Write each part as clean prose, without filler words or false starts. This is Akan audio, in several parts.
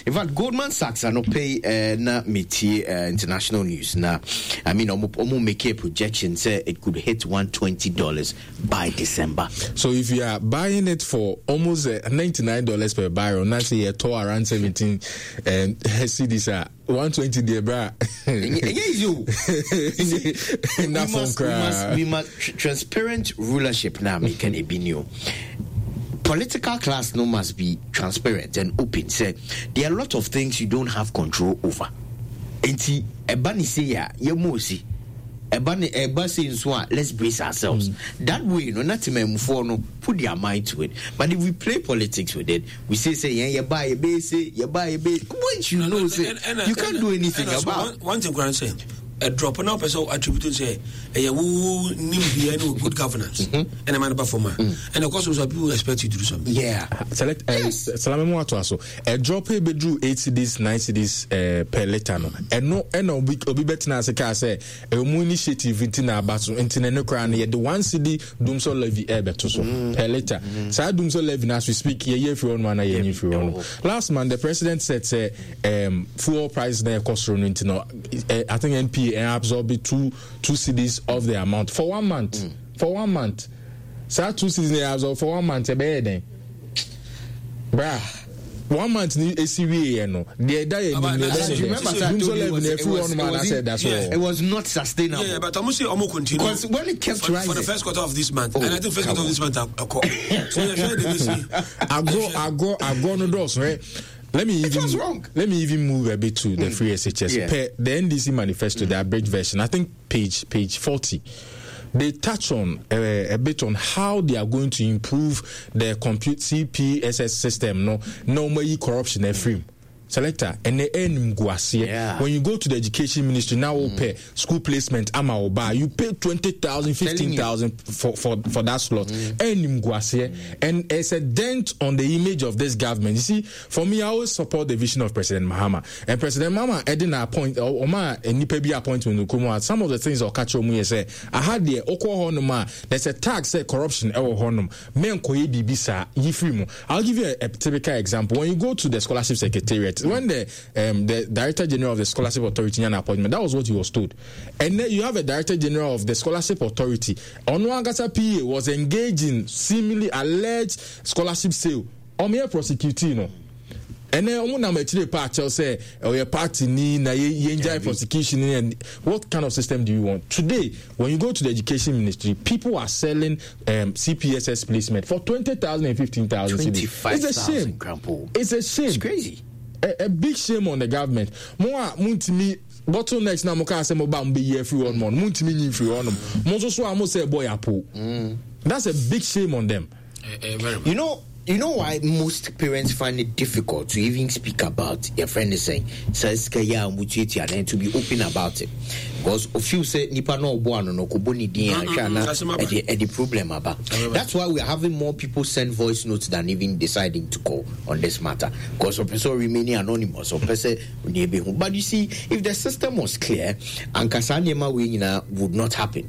In fact, Goldman Sachs anɔpɛ yi na metie international news na I mean ɔmo make a projection sɛ it could hit $120 by December. So if you are buying it for almost $99 per barrel, na sɛ yɛtɔ around 17 cedis a 120 deɛ bra. Ɛnyɛ easy o. Na fam koraa. We must transparent rulership na meka na ebi ni o. Political class no must be transparent and open. Sɛ there are a lot of things you don't have control over. Nti ɛba ne sei a yɛmu osi. Ɛba ne ɛba sei nso a let's brace ourselves. That way no na temamufoɔ no put their mind to it. But if we play politics with it, we say sɛ yɛn yɛba yɛbɛyɛ se yɛba yɛbɛyɛ which you know sɛ you can't do anything about. One thing koraa sɛ ɛdrɔp na wopɛ sɛ attribute sɛ ɛyɛ wo nimdeɛ ne good governance ɛna ma no ba fam a ɛna ɛkɔ so so people expect you to do something. Yeah. Select yes. Salame mu ato aso. Ɛdrɔp ebeduru 8 cedis 9 cedis per litre no. Ɛno ɛna obi obi bɛtena ase kaa sɛ ɛmu initiative nti na aba so nti na ɛno koraa no yɛde 1 cedi dumsor levy ɛbɛto so per litre. Saa dumsor levy na as we speak yɛyɛ firi hɔ nom ana yɛnyi firi hɔ nom. Last month the president said sɛ fuel price na ɛkɔ soro no nti no I think NPA ɛn absorb 2 cedis of the amount for one month. For one month. Saa 2 cedis na absorb for one month ɛbɛyɛ dɛn? Bra. One month ni esi wie yɛ no deɛ ɛda yɛ nim na ɛbɛyɛ dɛ dumsor levy na ɛfiri hɔ nom anaasɛ ɛda so wɔ. It was not sustainable. Yeah, but ɔmo sɛ ɔmo continue. Because when it kept rising. For the first quarter of this month. Oh, and I think first quarter of this month akɔ. So yɛ hwɛ de besi. Agorɔ agorɔ agorɔ no dɔɔso ɛ. Let me even let me even move a bit to the free SHS. Yeah. Per the NDC manifesto, the abridged version, I think page 40. They touch on a bit on how they are going to improve the compute CPSS system. No, no more corruption every selector and the yeah. When you go to the education ministry now, pay school placement ama oba you pay 20,000, 15,000 for that slot. And it's a dent on the image of this government. You see, for me, I always support the vision of President Mahama. And President Mahama adding a point ɔma nipa bi appointment no some of the things ɔka kyerɛ mu yɛ sɛ aha deɛ ɔkɔ hɔ nom a there's a tag sɛ corruption ɛwɔ hɔ nom menkɔyɛ biribi saa yi firi mu. I'll give you a typical example. When you go to the scholarship secretariat, when the director general of the scholarship authority an appointment, that was what he was told. And then you have a director general of the scholarship authority. Ɔno ankasa PA was engaged in seemingly alleged scholarship sale. Ɔmo yɛ prosecute no. Ɛnɛ ɔmo nam akyire pa akyɛw sɛ ɔyɛ party ni na yɛn gya prosecution ni, and what kind of system do you want today? When you go to the education ministry, people are selling CPSS placement for 20,000 and 15,000. 25,000. It's a shame. Grandpa. It's a shame. It's crazy. A big shame on the government. Mo a muntimi bottlenecks na mo ka sɛ mo ba mo bɛ yi afiri hɔ nom, mo ntumi nyi firi hɔ nom, mo nso so a mo sɛ ɛbɔ yapo. That's a big shame on them. You know why most parents find it difficult to even speak about your friend is saying says and to be open about it, because if you say nipa no obo ano no kobo ni din ahwa na e problem aba. That's why we are having more people send voice notes than even deciding to call on this matter, because of person remaining anonymous or person. But you see, if the system was clear, anka saa nneɛma wei nyinaa would not happen.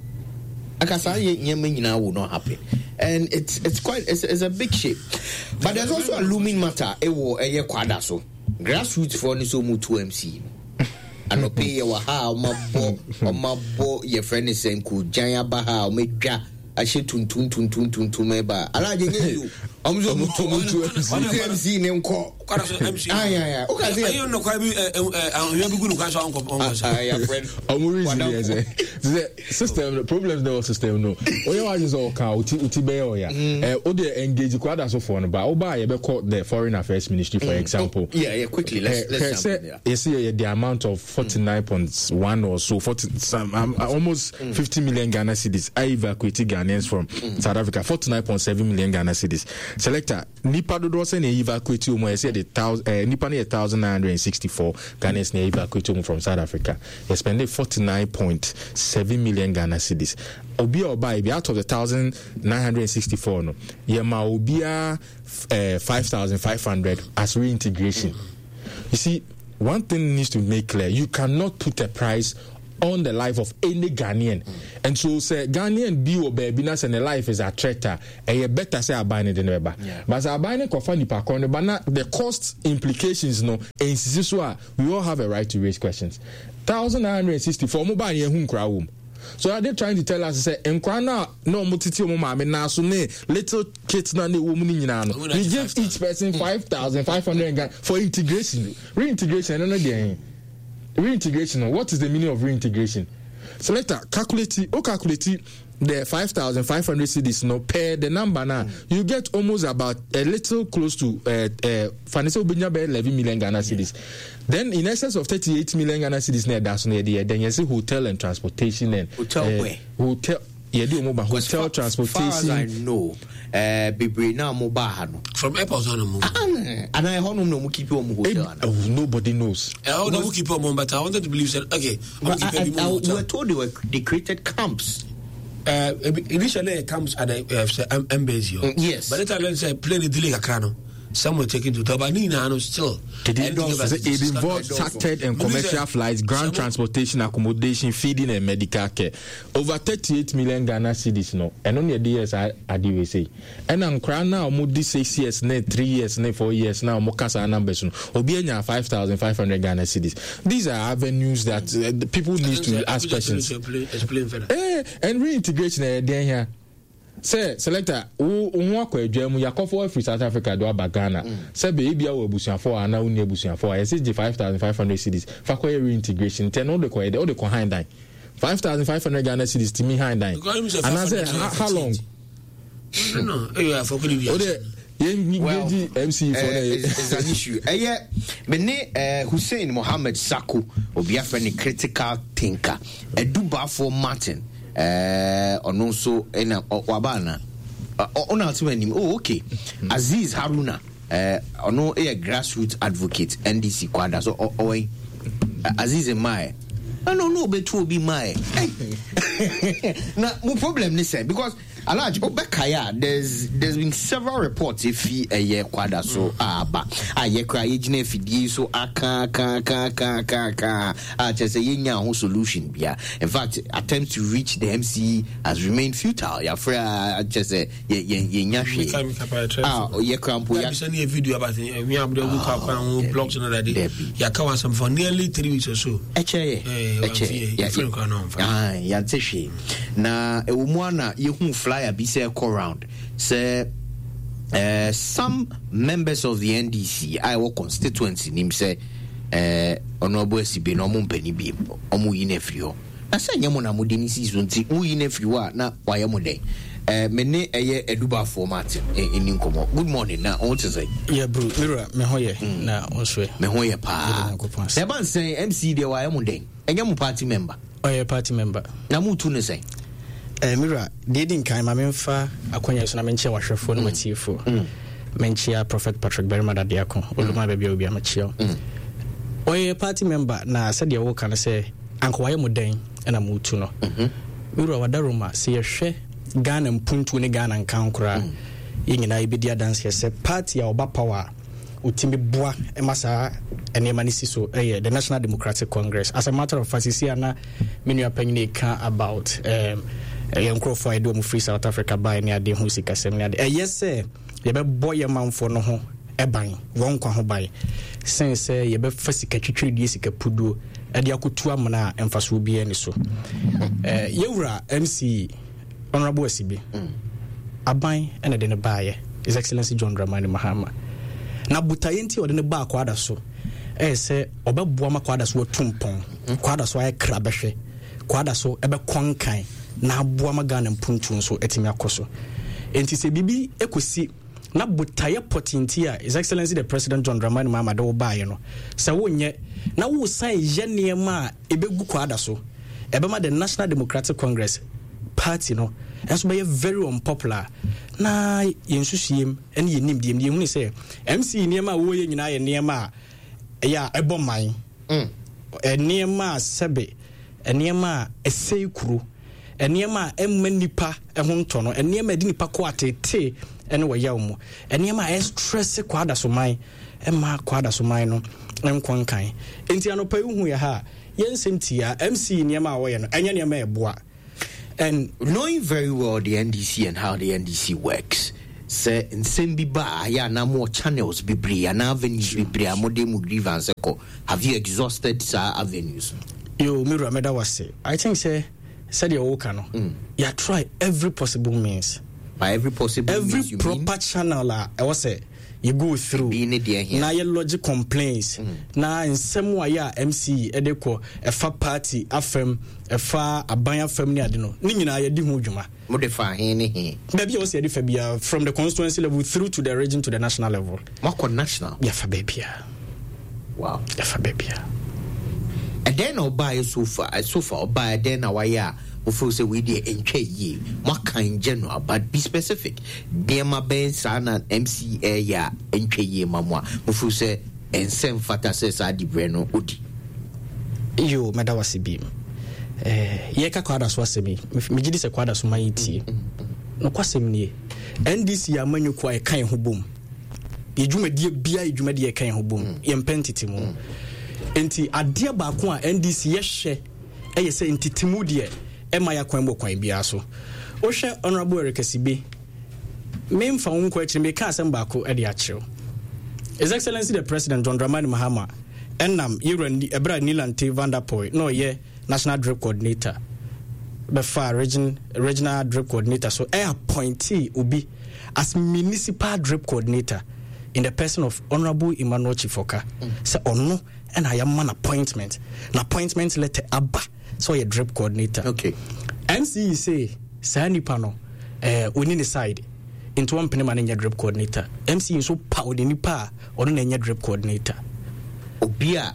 Anka saa nneɛma nyinaa would not happen. And it's quite it's a big shame. But there's also a looming matter. Ɛwɔ ɛyɛ Kwadaso. Grassroots foɔ ne so mu tu MC. Anɔpɛ yɛ wɔ ha a ɔmo abɔ yɛfrɛ ne sɛ nkogyan aba ha a ɔmo adwa ahyɛ tuntum tuntum tuntum ɛba alagye nye yi o, ɔmo nso ɔmo tu MC ne nkɔ. Kwadaso MC. Ayi o ka se. Ɛyɛ nnɔkwa bi ɛ ɛ ahwea bi gu no kwan so ankɔ ɔnkɔ sa. Ɔmo reason yɛ sɛ system problems na ɛwɔ system no oyɛ wa sɛ ɔka oti bɛyɛ ɔya ɛ o de engage Kwadasofoɔ no ba ɔba a yɛbɛkɔ the foreign affairs ministry for example. Oh, yeah, quickly, let's jump in there. Yɛsi yɛ the amount of 49.1 or so, 40 some almost 50 million Ghana cedis I evacuate Ghanaians from South Africa, 49.7 million Ghana cedis. Selector, nipa dodoɔ sɛ na evacuate wɔn a yɛsɛ de thousand nipa no yɛ 1,964 Ghanaians na evacuate wɔn from South Africa. Yɛ spend 49.7 million Ghana cedis. Obi a ɔbaa ebi out of the 1,964 no, yɛ ma obiara 5,500 as reintegration. You see, one thing needs to make clear: you cannot put a price. on the life of any Ghanaian. And so sɛ Ghanaian bi wɔ baabi na sɛ ne life is at threat a, ɛyɛ better sɛ aban no de no bɛba. But sɛ aban no kɔfa nipa korɔ no ba na the cost implications no nsisi so a, we all have a right to raise questions. 1964 ɔmo baa no yɛhu nkoraa wɔ mu. So are they trying to tell us sɛ nkoraa no a na ɔmo tete ɔmo maame nan so ne little kids na na ɛwɔ mu no nyinaa no, we give each person 5,500 Ghana for integration. Reintegration ɛno no deɛ he? Reintegration no, what is the meaning of reintegration? Selector, calculate, o calculate the 5,500 cedis no per the number na, you get almost about a little close to fane sɛ wobɛnya bɛyɛ 11 million Ghana cedis. Then in excess of 38 million Ghana cedis na ɛda so no, yɛde yɛ dɛn? Yɛse hotel and transportation and hotel where? Hotel yɛde ɔmo ba hotel transportation. Far as I know, bebree na ɔmo ba ha no. From airport hɔ nom. Ana ɛhɔ nom na ɔmo keep ɔmo hotel ana. Oh, nobody knows. Ɛhɔ na ɔmo keep ɔmo, but I wanted to believe said okay. Ɔmo keep ebi mu hotel. We were told they created camps. Initially camps at the embassy. Yes. But later learned say plane delay kakra no. Some were taken to but now still. It involved chartered and commercial flights, ground transportation, accommodation, feeding, and medical care. Over 38 million Ghana cedis no. And only the years I do say. And I'm crying now, mo 6 years, ne 3 years, ne 4 years now, mo kasa numbers no. Obi enya 5,500 Ghana cedis. These are avenues that the people need to ask questions. Explain further. And reintegration, then here. Sɛ selector wo ho akɔ adwa mu yakɔfo afiri South Africa do aba Ghana sɛ bɛ ebia wɔ abusuafo a anaa wonni abusuafo a yɛsɛ gye 5,500 cedis fa kɔyɛ reintegration nti ɛno wode kɔyɛ dɛ wode kɔ han dan 5,500 Ghana cedis tumi han dan anaasɛ how long no wode Well, yɛn MC for it's an issue. Ɛyɛ me ne Hussein Mohammed Sako, obi afrɛ ne critical thinker. Edubafoɔ Martin, ɔno nso ɛna waba ana? Ɔna ɔte m'anim. Oh, okay. Aziz Haruna, ɔno yɛ grassroots advocate NDC kwada so ɔwɔ yi. Aziz mmae. Ɛna ɔno ɔbɛtu obi mmae. Na mo problem ne sɛ because Alhaji, wobɛkae a, there's been several reports efi ɛyɛ kwada so a aba a yɛkora yɛgyina afidie so aka aka aka aka aka aka a kyerɛ sɛ yɛnya ho solution bia. In fact, attempt to reach the MCE has remained futile. Yɛafrɛ a kyerɛ sɛ yɛnya hwee a yɛkora mpo ya. Bisa ne video about we have the book ho blogs no dade. Yɛaka wɔ asɛm for nearly 3 weeks or so. Ɛkyɛ yɛ. Ɛkyɛ yɛ. Yɛnte hwee. Na ɛwɔ mu a na yɛhu flyer bi sɛ ɛkɔ round sɛ some members of the NDC a ɛwɔ constituency nim sɛ Honorable Asibe na ɔmo mpɛ ne biem, ɔmo yi no afiri hɔ. Na sɛ nyɛ mo na mode ne sii so nti moyi no afiri hɔ a na wayɛ mo dɛn? Me ne ɛyɛ Adubafoɔ Martin ɛni nkɔmmɔ. Good morning, na ɔho te sɛ? Yɛ bro, me wura, me ho yɛ, na wo nso ɛ? Me ho yɛ paa. Na ɛba nsɛn MC deɛ wayɛ mo dɛn? Ɛnyɛ mo party member? Ɔyɛ party member. Na mo tu ne sɛn? Me wura, deɛ di nkan ma memfa akwanya so na menkyia wahwɛfoɔ ne matiefoɔ. Menkyia Prophet Patrick Barima Dadeako, Oluma baabi a obi a mekyia wo. Ɔyɛ party member na sɛdeɛ woka no sɛ anka wayɛ mo dɛn ɛna motu no. Me wura, wada Roma, sɛ yɛhwɛ Ghana mpuntuo ne Ghana nkan koraa, yɛn nyinaa yɛbɛdi adanseɛ sɛ party a ɔba power a ɔtumi boa ma saa nneɛma no si so ɛyɛ the National Democratic Congress. As a matter of fact, sisi a na me nua panyin ka about yɛn nkurɔfoɔ a yɛde wɔn firi South Africa baeɛ ne adeɛ ho sikasɛm ne adeɛ. Ɛyɛ sɛ yɛbɛbɔ yɛn manfoɔ no ho ban, wɔn nkwa ho ban, sen sɛ yɛbɛfa sika twitwiridie, sika puduo ɛde akɔtu amena a mfasoɔ biara ni so. Yɛwura MC Honorable Asibi, aban ɛna de ne baayɛ, His Excellency John Dramani Mahama. Na botaeɛ nti a ɔde ne baa Kwada so ɛyɛ sɛ ɔbɛboa ma Kwada so atu mpɔn, Kwada so ayɛ kra bɛhwɛ, Kwada so ɛbɛkɔ nkan na aboa ma Ghana mpuntuo nso atumi akɔ so. Enti sɛ biribi ɛkɔsi na botaeɛ pɔtee nti a His Excellency the President John Dramani Mahama de wo baeɛ no, sɛ wonyɛ na wosan yɛ nneɛma a ɛbɛgu Kwada so, ɛbɛma the National Democratic Congress party no nso bɛyɛ very unpopular. Na yɛn nsusuiem ne yɛn nimdeɛ mu yɛhunu sɛ MC nneɛma a wɔyɛ nyinaa yɛ nneɛma a ɛyɛ a ɛbɔ man, nneɛma a sɛbe, nneɛma a ɛsɛe kuro, nneɛma a ɛmma nipa ho ntɔ no, nneɛma a ɛde nipa kɔ atetee ne wɔyaw mu, nneɛma a ɛstress kɔ adasoman. Ɛmma Kwadaso man no nkɔ nkan. Enti anɔpa yi wohu yɛ ha a, yɛn nsɛm tia MC nneɛma a wɔyɛ no, ɛnyɛ nneɛma a ɛboa. And knowing very well the NDC and how the NDC works, sɛ nsɛm bi ba a, ayɛ a na mowɔ channels bebree anaa avenues bebree a mode mo grievance kɔ. Have you exhausted saa avenues no? Yo, me wura, mɛda wo ase. I think sɛ sɛdeɛ woka no, mm. yɛ try every possible means. By every possible every means, you proper mean? channel a ɛwɔ sɛ yɛ go through na yɛ lodge complaints mm. na nsɛm a yɛ a MC ɛde kɔ ɛfa party afɛm ɛfa aban afɛm ne ade no ne nyinaa yɛdi ho dwuma. Mo de fa he ne he. Baabi a wɔsɛ yɛde fa biara from the constituency level through to the region to the national level. Moakɔ national. Yɛfa baabiara. Wow. Yɛfa baabiara. Ɛdɛn na ɔbaeɛ so far? So far ɔbaeɛ ɛdɛn na wayɛ a wofeel sɛ wei deɛ ɛntwa yie? Moaka in general but be specific. Nneɛma bɛn saa na MC ɛreyɛ a ɛntwa yie ma mo a mofeel sɛ ɛnsɛ mfata sɛ saa diberɛ no ɔdi? Yo, mɛda wase bi. Eh, yɛka kwada so asɛm yi, megye di sɛ kwada so ma yɛtie. Nokwasɛm nie, NDC yɛ amanyɔkuo a yɛka yɛn ho bom. Yɛ dwumadie biara yɛ dwumadie yɛka yɛn ho bom. Mm. Yɛmpɛ ntetemu. Mm. Nti adeɛ baako a NDC yɛhwɛ ɛyɛ sɛ ntetemu deɛ ɛma yɛ akwan mu kwan biara so. Wohwɛ Honorable Eric Asibe, memfa wo nkɔ akyiri meka asɛm baako de akyerɛw. His Excellency the President John Dramani Mahama ɛnam yɛwura ɛberɛ a Nilante Vanderpoy na ɔyɛ National Drip Coordinator bɛfaa region regional drip coordinator so ɛ appointee obi as municipal drip coordinator in the person of Honorable Emmanuel Chifoka sɛ ɔno ɛna yɛama no appointment na appointment letter aba sɛ ɔyɛ drip coordinator. Okay. MCE say saa nipa no eh, ɔni ne side nti wɔmpene ma no nyɛ drip coordinator. MCE nso paw ne nipa a ɔno na ɛnyɛ drip coordinator. Obi a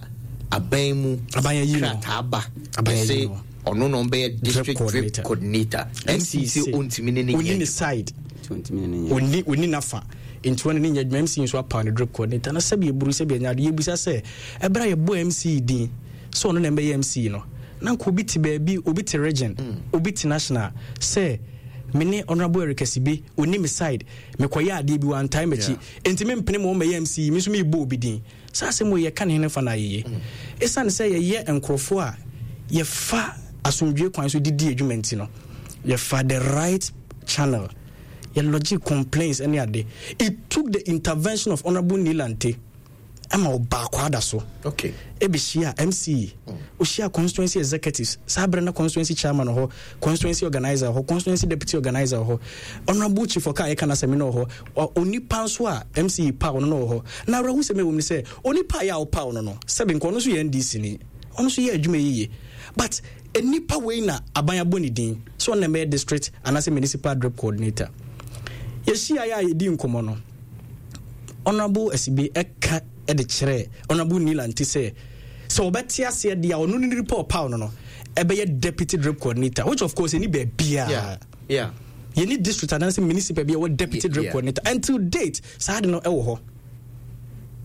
aban mu krataa ba ɛsɛ ɔno na ɔbɛyɛ district drip coordinator. MC sɛ ɔntumi ne ne nyɛ ɔni ne side ɔni ɔni nafa nti wɔne ne nyɛ adwuma. MC nso apaw ne drip coordinator na sɛbi eburu sɛbi anya ade yɛbisa sɛ ɛberɛ a yɛbɔ MC din sɛ ɔno na ɛbɛyɛ MC no na nka obi te baabi, obi te region, obi te national sɛ me ne Honorable Eric Asibe ɔni me side, mekɔyɛ adeɛ bi wantae m'akyi nti mempene ma ɔmmɛyɛ MC yi, me nso merebɔ obi din. Saa asɛm wei yɛka ne hene fa no ayeye. Ɛsiane sɛ yɛyɛ nkurɔfoɔ a yɛfa asomdwoe kwan so de di adwuma nti no, yɛfa the right channel, yɛ lodge complaints ne ade. It took the intervention of Honorable Nilante ɛma ɔbaa Kwada so. Okay. Ɛbɛhyia MC, ɔhyia constituency executives, saa berɛ na constituency chairman wɔ hɔ, constituency organizer wɔ hɔ, constituency deputy organizer wɔ hɔ, Honorable Chief ɔka a yɛka n'asɛm no wɔ hɔ, onipa nso a MC paw no no wɔ hɔ. Na awerɛhosɛm ɛwɔ mu ne sɛ, onipa a yɛ a ɔpaw no no, sɛbe nka ɔno nso yɛ NDC ni, ɔno nso yɛ adwuma yiye. But nipa wei na aban abɔ ne din sɛ ɔno na ɛbɛyɛ district anaasɛ municipal drip coordinator. Yɛhyia yɛ a yɛdi nkɔmmɔ no, Honorable Asibe ɛka de kyerɛɛ Honorable Nilante sɛ, sɛ ɔbɛte aseɛ deɛ a ɔno ne nipa ɔpaw no no ɛbɛyɛ deputy drip coordinator, which of course ɛni baabiara. Yeah. Yɛni district anaasɛ municipal bi a ɛwɔ deputy drip coordinator until date saa de no ɛwɔ hɔ.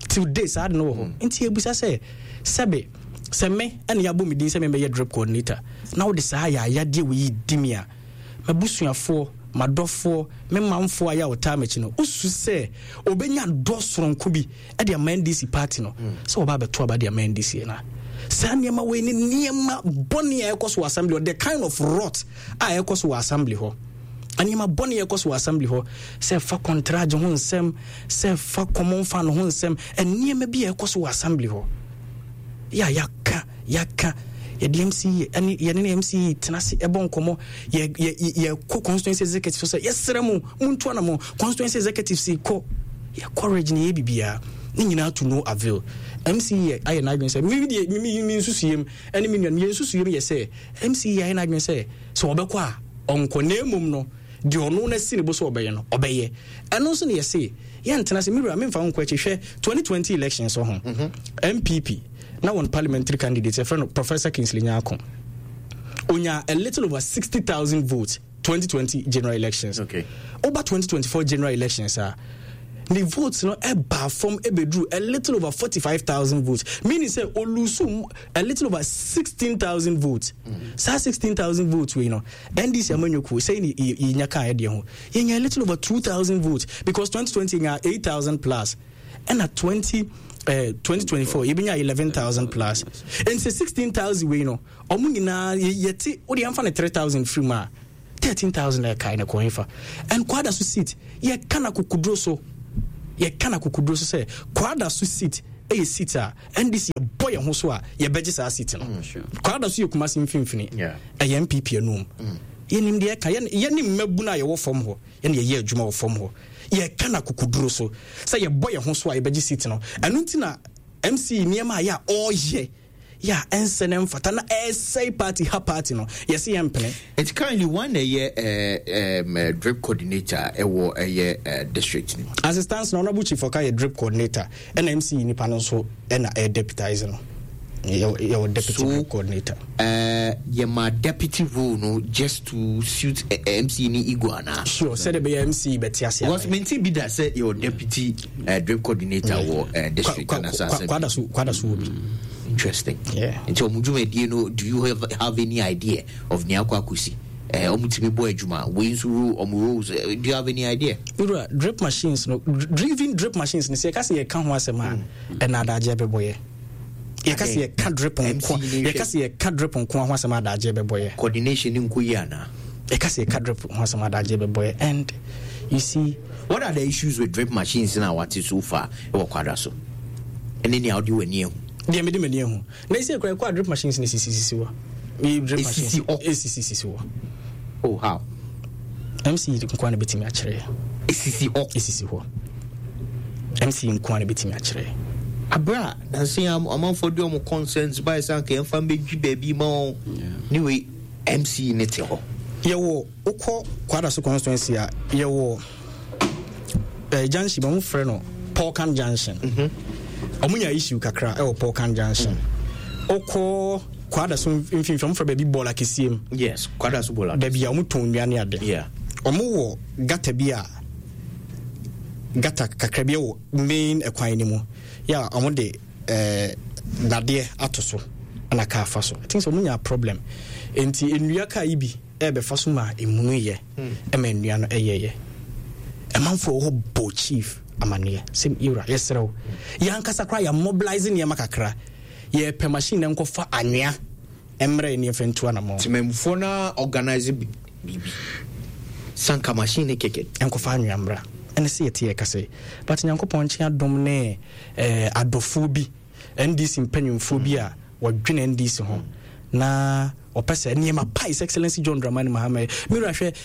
Till date saa de no wɔ hɔ. Nti yɛbisa sɛ sɛbe sɛ me ɛna yɛabɔ me din sɛ mebɛyɛ drip coordinator na wode saa yaayadeɛ wei yi di me a, m'abusuafoɔ, m'adɔfoɔ, me manfoɔ a yɛ a wɔtaa m'akyi no, wosu sɛ ɔbɛnya dɔ soronko bi de ama NDC party no sɛ wɔba abɛto aba de ama NDC na saa nneɛma wei ne nneɛma bɔne a ɛkɔ so wɔ assembly hɔ, the kind of rot a ɛkɔ so wɔ assembly hɔ, nneɛma bɔne a ɛkɔ so wɔ assembly hɔ, sɛ fa kɔntragye ho nsɛm, sɛ fa common fund ho nsɛm, nneɛma bi a ɛkɔ so wɔ assembly hɔ yɛ a yɛaka yɛaka yɛde MC ɛne yɛne ne MC tena ase ɛbɔ nkɔmmɔ, yɛ yɛ yɛkɔ constituency executive so sɛ yɛsrɛ mo montu anamɔ, constituency executive si kɔ yɛkɔ region yɛ biribiara ne nyinaa to no avail. MC yɛ ayɛ n'adwene sɛ me deɛ me me me nsusuyɛm ɛne me nuanom yɛn nsusuyɛm yɛ sɛ MC yɛ ayɛ n'adwene sɛ sɛ ɔbɛkɔ a ɔnkɔ, na mmom no deɛ ɔno no asi ne bo sɛ ɔbɛyɛ no ɔbɛyɛ. Ɛno nso ne yɛse yɛntena sɛ mewura memfa wo nkɔ akyi. Hwɛ 2020 elections so ho, NPP na wɔn parliamentary candidate yɛfrɛ no Professor Kingsley Nyarko onya a little over 60,000 votes 2020 general elections. Over 2024 general elections a ne votes no ɛbaa fam ɛbɛduru a little over 45,000 votes, meaning sɛ olusu a little over 16,000 votes. Saa 16,000 votes wei no NDC amanyɔkuo sɛi ne yɛnya kaa ɛdeɛ ho yɛnya a little over 2,000 votes because 2020 yɛnya 8,000 plus. Ɛna 20 2024 yɛbɛnya 11,000 plus. Nti sɛ 16,000 wei no ɔmo nyinaa yɛte wode yɛmfa no 3,000 firi mu a, 13,000 na ɛkae no kɔ hefa? And Kwadaso seat yɛka no akokoduro so, yɛka no akokoduro so sɛ Kwadaso seat ɛyɛ seat a NDC yɛbɔ yɛn ho so a yɛbɛgye saa seat no. Kwadaso yɛ Kumasi mfimfini, ɛyɛ NPP anum. Yɛnim deɛ ɛka, yɛne mmabunu a yɛwɔ fam hɔ, yɛne yɛyɛ adwuma wɔ fam hɔ, yɛka no akokoduro so sɛ yɛbɔ yɛn ho so a yɛbɛgye seat no. Ɛno nti na MC nneɛma a yɛ a ɔreyɛ yɛ a ɛnsɛ na ɛmfata na ɛresɛe party ha party no, yɛse yɛmpene. Nti currently wan na ɛyɛ drip coordinator ɛwɔ ɛyɛ district no mu? As it stands no, Honourable Chief Oka yɛ drip coordinator ɛna MC nipa no nso ɛna ɛyɛ deputize no. Yɛwɔ deputy so, drip coordinator. Yɛ ma deputy role no just to suit MC ni ego ana? Sure, sɛde bɛyɛ MC bɛte ase. Because menti bi da sɛ yɛwɔ deputy drip coordinator wɔ district anasa asɛm. Kwada so kwada so wɔ bi. Interesting. Yeah. Nti ɔmo dwumadie no, do you have any idea of nea akɔ akɔsi? Ɔmo tumi bɔ adwuma wei nso role ɔmo roles, do you have any idea? Wura, drip machines no, even drip machines no, sɛ yɛka sɛ yɛka ho asɛm a, ɛna adagyeɛ bɛbɔ yɛ. Yɛka sɛ yɛka drip nko, yɛka sɛ yɛka drip nko ho asɛm adagyeɛ bɛbɔ yɛ. Coordination nko yie anaa? Yɛka sɛ yɛka drip ho asɛm adagyeɛ bɛbɔ yɛ. And you see, what are the issues with drip machines na wate so far ɛwɔ Kwada so? Ɛne nea wode w'ani ahu. Deɛ mede m'ani ahu. Na ɛsɛ kura ɛkɔ a drip machines na esisisisi hɔ. Drip machines Esisi hɔ. Esisisisi hɔ. Oh, how? MC nkoa na betumi akyerɛ. Esisi hɔ. Esisi hɔ. MC nkoa na betumi akyerɛ. Abra, nansi amanfoɔ de wɔn concerns ba ɛsɛ anka yɛmfa mbɛdwi baabi ma wɔn. Ne wei MC ne te hɔ. Yɛwɔ wokɔ Kwadaso constituency a yɛwɔ junction bi wɔn frɛ no Polkan Junction. Wɔn nya issue kakra ɛwɔ Polkan Junction. Wokɔ Kwadaso mfimfini wɔn frɛ baabi bɔɔla kɛseɛ mu. Yes, Kwadaso bɔɔla. Baabi a wɔn tɔn nnua ne ade. Yeah. Wɔn wɔ gata bi a gata kakra bi wɔ main ɛkwan no mu. Yɛ a wɔn de dadeɛ ato so ɛna kaa fa so. I think sɛ wɔn nya problem. Nti nnua kaa yi bi ɛbɛfa so ma emunu yɛ ɛma nnua no ɛyɛyɛ. Ɛmanfoɔ wɔ hɔ bɔ chief amaneɛ sɛ yɛwura yɛsrɛ wo yɛn ankasa koraa yɛ mobilize nneɛma kakra, yɛpɛ machine na nkɔfa anwea mmerɛ ne yɛmfa ntu anamɔ. Temamufoɔ no organize biribi sanka machine ne kɛkɛ nkɔfa anwea mmra ɛne sɛ yɛte yɛka sɛ but Nyankopɔn nkye adom ne adɔfoɔ bi NDC mpanyimfoɔ bi a wɔdwene NDC ho na ɔpɛ sɛ nneɛma pa His Excellency John Dramani Mahama yɛ. Me wura hwɛ,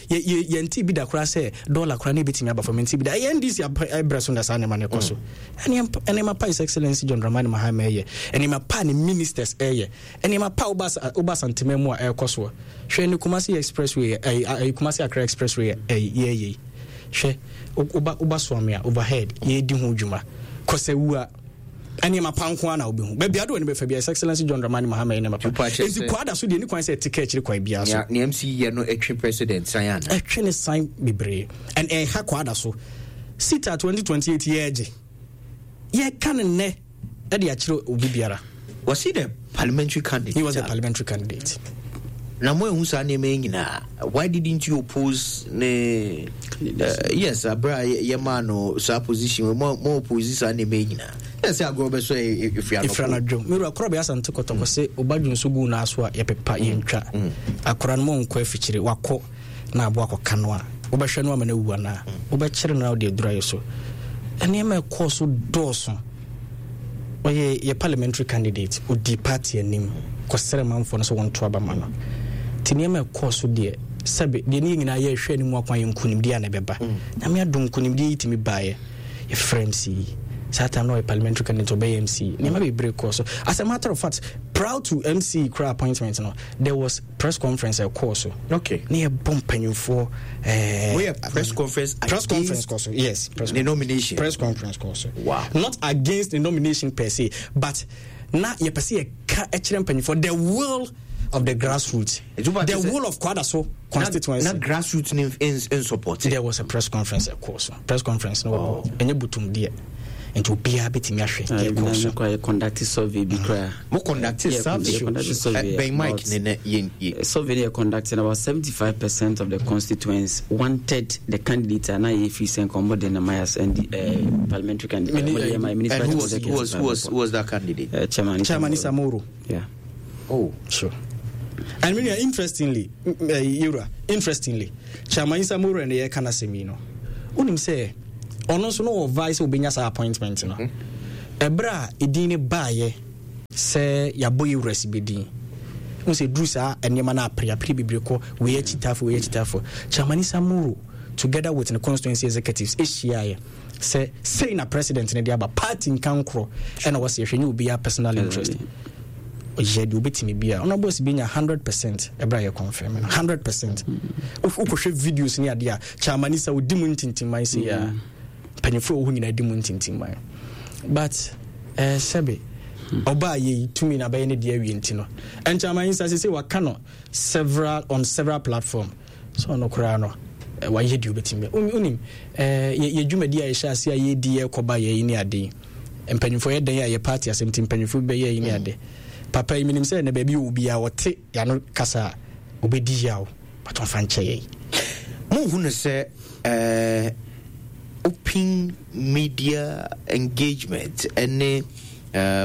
yɛnte bi da koraa sɛ dɔla koraa na ebetumi aba fam, nte bi da. Ɛyɛ NDC abrɛ so na saa nneɛma no ɛkɔ so. Nneɛma pa His Excellency John Dramani Mahama yɛ, nneɛma pa ne ministers ɛyɛ, nneɛma pa woba Asantema mu a ɛkɔ soɔ. Hwɛ ne Kumasi Expressway, ɛyi Kumasi Accra Expressway ɛyi yɛyɛ yi. Hwɛ, woba Suame a overhead yɛdi ho dwuma. Kɔsɛwua nneɛma pa nko ara na wobɛhu. Baabi ade w'ani bɛfa biara, His Excellency John Dramani Mahama yɛ nneɛma pa. Enti Kwada so deɛ, ɛni kwan sɛ ɛte ka akyiri kwan biara so. Nea MC yɛ no ɛtwe president san ana? Ɛtwe ne san bebree. And ɛha Kwada so. Sita 2028 yɛregye. Yɛka no nnɛ ɛde akyerɛ obi biara. Was he the parliamentary candidate? He was the parliamentary candidate. Na mo ehu saa nneɛma yi nyinaa, why didn't you oppose ne yes abira yɛ maa no saa position mo mo oppose saa nneɛma yi nyinaa yɛ sɛ agorɔ bɛ so efiri anɔpɔ. Efiri anadwo mewura korɔ bɛ asante kɔtɔkɔ se ɔba dwo nso gu n'aso a yɛpepa yɛntwa akora no mo nkɔ afikyire wakɔ na aboa akɔka no a wobɛhwɛ no ama no awu anaa wobɛkyere no na wode aduru ayɛ so. Nneɛma ɛkɔɔ so dɔɔso. Ɔyɛ yɛ parliamentary candidate, ɔdii party anim kɔsrɛ manfoɔ no sɛ wɔnto aba ma no. Nti nneɛma ɛkɔɔ so deɛ, sɛbe deɛ ne yɛn nyinaa yɛrehwɛ anim akwan yɛ nkunimdie a na ɛbɛba. Nyame adom nkunimdie yi tumi baeɛ. Yɛfrɛ MC yi. Saa time na ɔyɛ parliamentary candidate, ɔbɛyɛ MC. Nneɛma bebree kɔɔ so. As a matter of fact, prior to MC koraa appointment no, there was press conference ɛkɔɔ so. Okay. Ne yɛbɔ mpanyinfoɔ. Woyɛ press conference. Press conference kɔ so. Yes. Press the nomination. Press conference kɔ so. Wow. Not against the nomination per se, but na yɛpɛ sɛ yɛka kyerɛ mpanyinfoɔ the will of the grassroots. The will of Kwadaso constituency. Na grassroots ni in support. There was a press conference ɛkɔɔ so. Press conference no wɔ ɛnyɛ butum deɛ. Nti obiara bɛtumi ahwɛ deɛ ɛkɔɔ so. Yɛ conduct survey bi koraa. Mo conduct survey? Conduct survey. Bɛn mic ne nɛ yɛn yɛ. Survey ne yɛ conduct about 75% of the constituents wanted the candidate a na yɛ fi sɛ nkɔmɔ de na mayas and the parliamentary candidate. And who was that candidate? Chairman Chairman Issa Moro. Yeah. Oh. Sure. And mean, interestingly, Yura, interestingly, Chairman Issa Moro and the kana semi no. Unim say ɔno nso no wɔ vice obenya saa appointment no. Ɛberɛ a edin ne baayɛ sɛ yɛabɔ yɛwura si bɛdin wo sɛ duru saa nneɛma no apreapre bebree kɔ wei akyitafo wei akyitafo. Chairman Issa Moro together with the constituency executives ehyiaeɛ sɛ sei na president no de aba party nka nkorɔ ɛna wɔsɛ yɛhwɛ nyɛ obiara personal interest. Ɔyɛ deɛ obɛtumi bia ɔno abɔ si bi nya 100% ɛberɛ a yɛ confirm no 100%. Wokɔhwɛ videos ne adeɛ a Chairman Issa ɔdi mu ntintimman sei a mpanyinfoɔ a ɛwɔ hɔ nyinaa di mu ntintimman, but sɛbe ɔbaa yɛ yi tumi na bɛyɛ ne deɛ awie nti no Chairman Issa sɛ waka no several on several platform so ɔno koraa no wayɛ deɛ obɛtumi. Wonim yɛ dwumadi a yɛhyɛ ase a yɛdi yɛkɔba yɛ yi ne ade yi mpanyinfoɔ yɛ dɛn a yɛ party asɛm nti mpanyinfoɔ bi bɛyɛ yi ne ade. Papa yi menim sɛ na baabi wɔ obiara ɔte yɛano kasa a obɛdi yaw, but ɔmfa nkyɛ yɛn. Monhu no sɛ open media engagement ne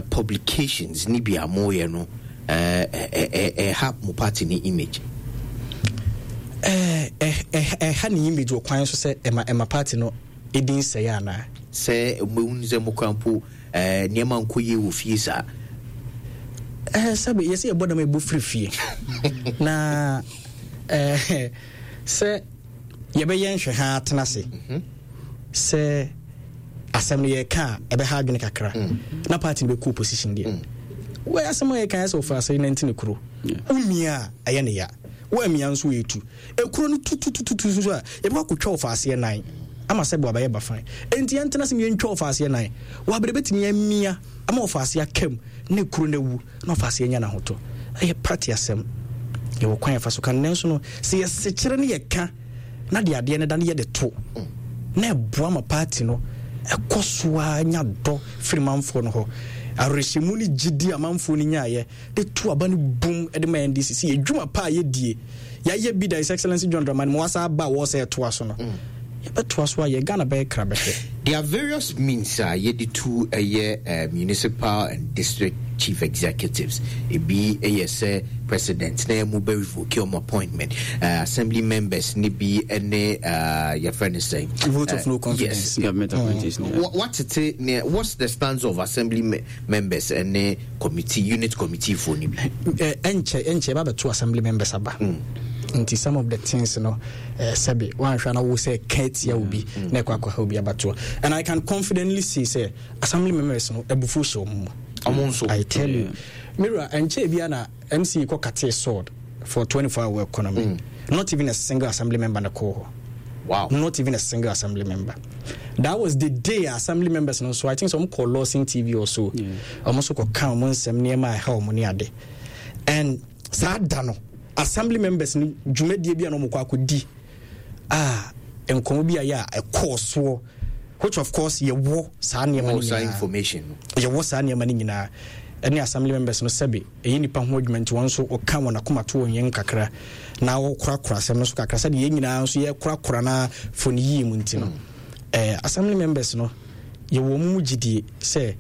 publications ne bi a moyɛ no ɛha mo party ne image? Ɛha ne image wɔ kwan so sɛ ɛma party no ɛdi nsɛeɛ anaa? Sɛ mohu sɛ mokora mpo nneɛma nkɔ yie wɔ fie saa. Sɛbe yɛsɛ yɛbɔ dam ɛbɔ firi fie na sɛ yɛbɛyɛ nhwɛ ha atena ase sɛ asɛm no yɛka a ɛbɛha adwene kakra na party no bɛkɔ opposition deɛ. Wɔ asɛm a yɛka yɛ sɛ ɔfa asɛe nante ne kuro womia a ɛyɛ ne ya, woamia nso ɛtu ɛkuro no tutututu so a yɛbɛkɔ akɔtwa ɔfa aseɛ nan ama sɛ boabɛyɛ bafan. Enti yɛntena sɛ yɛntwa ɔfa aseɛ nan wɔabrɛ bɛtumi amia ama ɔfa aseɛ akam na kuro no awu na ɔfa aseɛ anya n'ahotɔ. Ɛyɛ party asɛm, yɛwɔ kwan yɛfa so ka no, nanso no sɛ yɛsekyerɛ ne yɛka na de adeɛ no da no yɛde to na ɛboa ma party no ɛkɔ so a nya dɔ firi manfoɔ no hɔ. Awerɛhyɛmu ne gyidi a manfoɔ no nyaeɛ de to aba no bum de ma NDC sɛ yɛdwuma pa a yɛdie yɛayɛ bi da His Excellency John Dramani ma wasa aba a wɔ sɛ ɛtoa so no, yɛbɛtoa so ayɛ. Ghana bɛyɛ kra bɛhwɛ. There are various means a yɛde tu ɛyɛ municipal and district chief executives. Ebi yɛ sɛ president na ɛmu bɛ revoke ɔmo appointment. Assembly members ne bi ne yɛfrɛ no sɛn? Vote of no confidence. Yes. Government appointees. Watete ne what's the stance of assembly members ne committee unit committee for ni bi? Ɛnkyɛ ɛba bɛto assembly members aba. Nti some of the things no sɛbe wanhwɛ na wo sɛ ka tia obi na ɛkɔ akɔha obi abatoɔ. And I can confidently say sɛ assembly members no abufuo hyɛ wɔn mu. Ɔmo nso. I tell you. Mira, ɛnkyɛ bia na MC kɔ kate sword for 24-hour economy. Not even a single assembly member na kɔ hɔ. Wow. Not even a single assembly member. That was the day assembly members no so I think some call Lawson TV or so. Ɔmo nso kɔ ka ɔmo nsɛm nneɛma a ɛha ɔmo ne ade. And saa da no assembly members no dwumadie bi a na ɔmo kɔ akɔdi a nkɔmɔ bi a yɛ a ɛkɔɔ soɔ, which of course yɛwɔ saa nneɛma no Wɔ saa nyinaa. information no. Yɛwɔ saa nneɛma no nyinaa. Ɛne assembly members no sɛbe ɛyɛ nipa ho adwuma nti wɔn nso wɔka wɔn akoma to wɔn yɛn kakra na wɔkorakora asɛm no so kakra sɛdeɛ yɛn nyinaa nso yɛkorakora na fo no yie mu nti no. Assembly members no yɛwɔ wɔn mu gyidie sɛ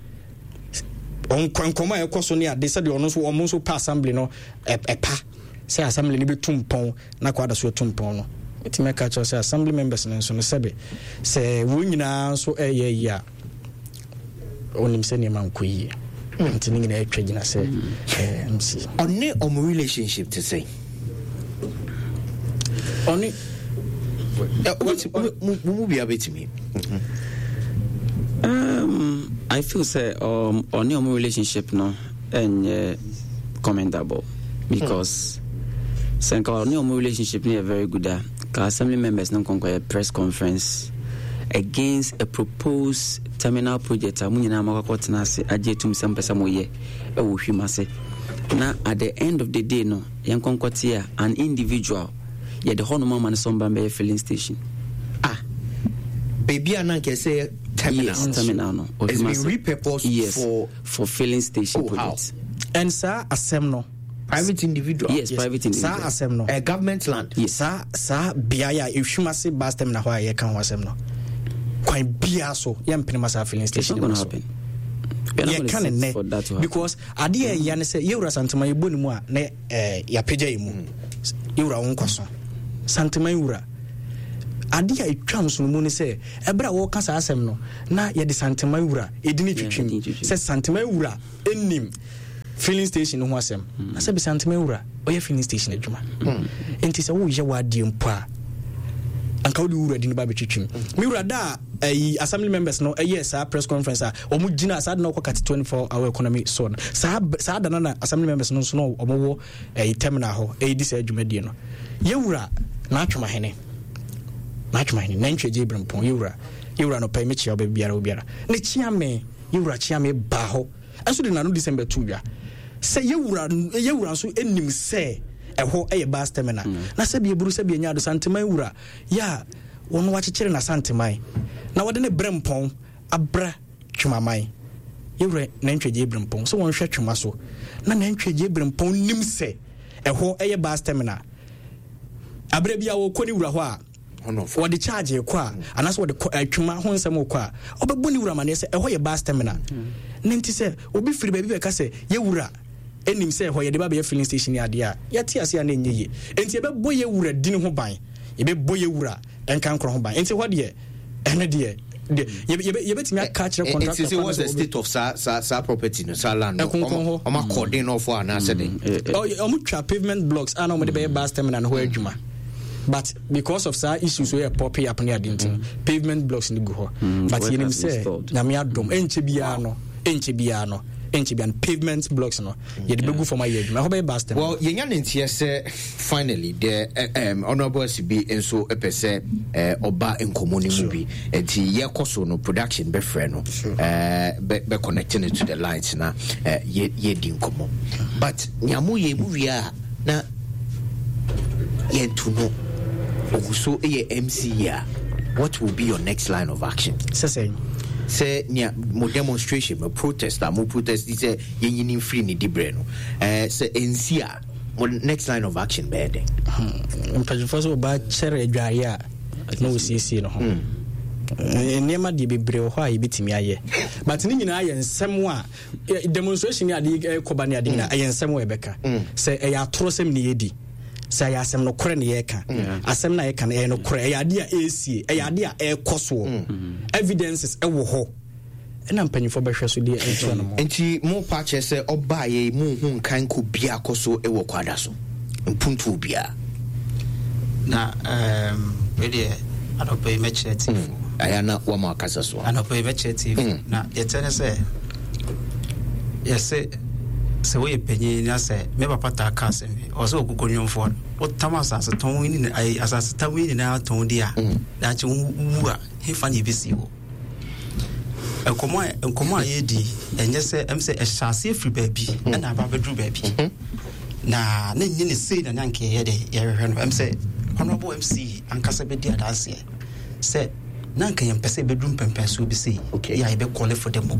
nkɔmɔ a ɛkɔ so ne ade sɛdeɛ ɔno nso wɔn nso pa assembly no ɛpa sɛ assembly no bɛtu mpɔn na kɔ ada so atu mpɔn no. Mɛtumi aka kyerɛ sɛ assembly members no nso no sɛbe sɛ wɔn nyinaa nso ɛyɛ yie a onim sɛ nneɛma nkɔ yie. Nti ne nyinaa atwa gyina sɛ MC. Ɔne ɔmo relationship te sɛn? Ɔne Mo mu bia bɛtumi. I feel sɛ ɔne ɔmo relationship no ɛnyɛ commendable because sɛ nka ɔne ɔmo relationship no yɛ very good a, ka assembly members no nkɔnkɔ yɛ press conference against a proposed terminal project a mo nyinaa mo akɔkɔ tena ase agye atum sɛ mpɛ sɛ moyɛ ɛwɔ hwim ase, na at the end of the day no yɛn nkɔnkɔ te a an individual yɛde hɔnom ama no sɛ ɔmba mbɛyɛ filling station. Baabi a na nka ɛsɛ yɛ Terminal. Yes, terminal no. It's been repurposed yes, for filling station Oh, how? project. And saa asɛm no. Private individual. Yes, private individual. Saa asɛm no. Government land. Yes. Saa beaeɛ a Ehwim ase bus terminal hɔ a yɛka ho asɛm no, kwan biara so yɛmpene ma saa filling It's station not going no to so. happen. We are not Yɛka gonna ne sit for that to nnɛ happen. because adeɛ a ɛya ne sɛ yɛwura Santeman yɛbɔ ne mu a na yɛapagya yɛ mu. Yɛwura wo nkwa so. Santeman wura. Adeɛ a ɛtwa nsono mu ne sɛ ɛberɛ a wɔka saa asɛm no na yɛde Santeman wura ɛdi ne twitwim sɛ Santeman wura ɛnim filling station no ho asɛm. Na sɛ Santeman wura ɔyɛ filling station adwuma. Enti sɛ woyɛ w'adeɛ mpo a anka wode wura di no ba bɛtwitwim. Me wura da a ɛyi assembly members no ɛyɛ saa press conference a wɔn gyina saa de na ɔkɔ kate 24 hour economy so no, saa da no na assembly members no nso na wɔn wɔ ɛyi terminal hɔ ɛyi di saa dwumadie no. Yɛwura n'atwomahene nantwi agye ebirempɔn yɛwura no pɛ mekyia ɔbɛ biara obiara ne kyia me yɛwura kyia me baa hɔ ɛnso de n'ano December tu dwa sɛ yɛwura nso anim sɛ ɛhɔ ɛyɛ bus terminal. Na sɛbi eburu sɛbi enya ado Santeman wura yɛ a wɔn wakyekyere na Santeman na wɔde ne brɛ mpɔn abra Twemaman. Yɛwura nantwi agye ebirempɔn sɛ wɔnhwɛ Twema so na nantwi agye ebirempɔn nim sɛ ɛhɔ ɛyɛ bus terminal. Abere bi a wɔkɔ ne wura hɔ a wɔde charge kɔ a anaasɛ wɔde kɔ atwuma ho nsɛm kɔ a ɔbɛbɔ ne wura amaneɛ sɛ ɛhɔ yɛ bus terminal. Ne nti sɛ obi firi baabi bɛka sɛ yɛwura ɛnim sɛ ɛhɔ yɛde ba bɛyɛ filling station ne adeɛ a yɛte ase a na ɛnyɛ yie. Enti yɛbɛbɔ yɛwura dini ho ban, yɛbɛbɔ yɛwura nka nkorɔ ho ban. Enti hɔ deɛ ɛno deɛ yɛbɛtumi aka akyerɛ contractor. Nti sɛ what's the state of saa property no, saa land no? Ɛkonkɔn hɔ. Ɔmo akɔden no ɔfɔ anaasɛ den? Ɔmo twa pavement blocks a na ɔmo de bɛyɛ bus terminal no hɔ adwuma. But because of saa issues wey pop up ne ade nti no, pavement blocks no gu hɔ. But Work yɛnim has been sɛ stalled. Nyame adom ɛnkyɛ biara no, ɛnkyɛ biara no, ɛnkyɛ biara no pavement blocks no yɛde bɛgu fam ayɛ adwuma. Ɛhɔ bɛyɛ bus terminal. Well, yɛnya ne nteɛ sɛ finally the honorable Asibi nso pɛ sɛ ɔba nkɔmmɔ no mu bi. Nti yɛkɔ so no production bɛfrɛ no, bɛ connect no to the lines na yɛdi nkɔmmɔ. But nea moyɛ mu wie a na yɛnto no ogu so yɛ MC a, what will be your next line of action? Sɛ Sɛ nea mo demonstration, mo protest a mo protest sɛ yɛnyini mfiri ne diberɛ no, sɛ ɛnsi a mo next line of action bɛyɛ dɛn? Mpanyinfoɔ sɛ ɔbaa kyɛrɛ adwareɛ a na wɔsiesie no ho. Nneɛma deɛ bebree wɔ hɔ a yɛbɛtumi ayɛ, but ne nyinaa yɛ nsɛm a demonstration ne adeɛ ɛkɔba ne adeɛ nyinaa ɛyɛ nsɛm a yɛbɛka. Sɛ ɛyɛ atorɔ sɛm ne yɛdi, sɛ ɛyɛ asɛm nokorɛ ne yɛka, asɛm no a yɛka no ɛyɛ nokorɛ, ɛyɛ adeɛ a ɛresie, ɛyɛ adeɛ a ɛrekɔ soɔ, evidences ɛwɔ hɔ ɛna mpanyinfoɔ bɛhwɛ so deɛ ɛntoa no mu. Nti mo pa kyerɛ sɛ ɔbaa yɛ mu hu nkan kɔ bia kɔ so ɛwɔ kwada so mpuntuo bia. Na wei deɛ anɔpa yi mɛkyerɛ tiefo. Ɛyɛ na wɔn akasa so. Anɔpa yi mɛkyerɛ tiefo. Na deɛ kyerɛ ne sɛ yɛse sɛ woyɛ panyin na sɛ me papa taa ka asɛm bi, ɔsɛ ɔkokɔ nnwomfoɔ no wotam asase tɔn yi nyinaa, ayi, asase tam yi nyinaa tɔn di a, daakye wowu a hefa na yɛbɛsi wo? Nkɔmmɔ a yɛredi ɛnyɛ sɛ ɛm sɛ ɛhyɛ aseɛ firi baabi ɛna aba abɛduru baabi. Na na nyɛ ne sei na na nka yɛyɛ dɛ yɛhwehwɛ no. Ɛm sɛ Honorable MC ankasa bɛdi adanseɛ sɛ na nka yɛmpɛ sɛ yɛbɛduru mpɛmpɛnsoɔ bi sei. Yɛ a yɛbɛkɔle for the mo.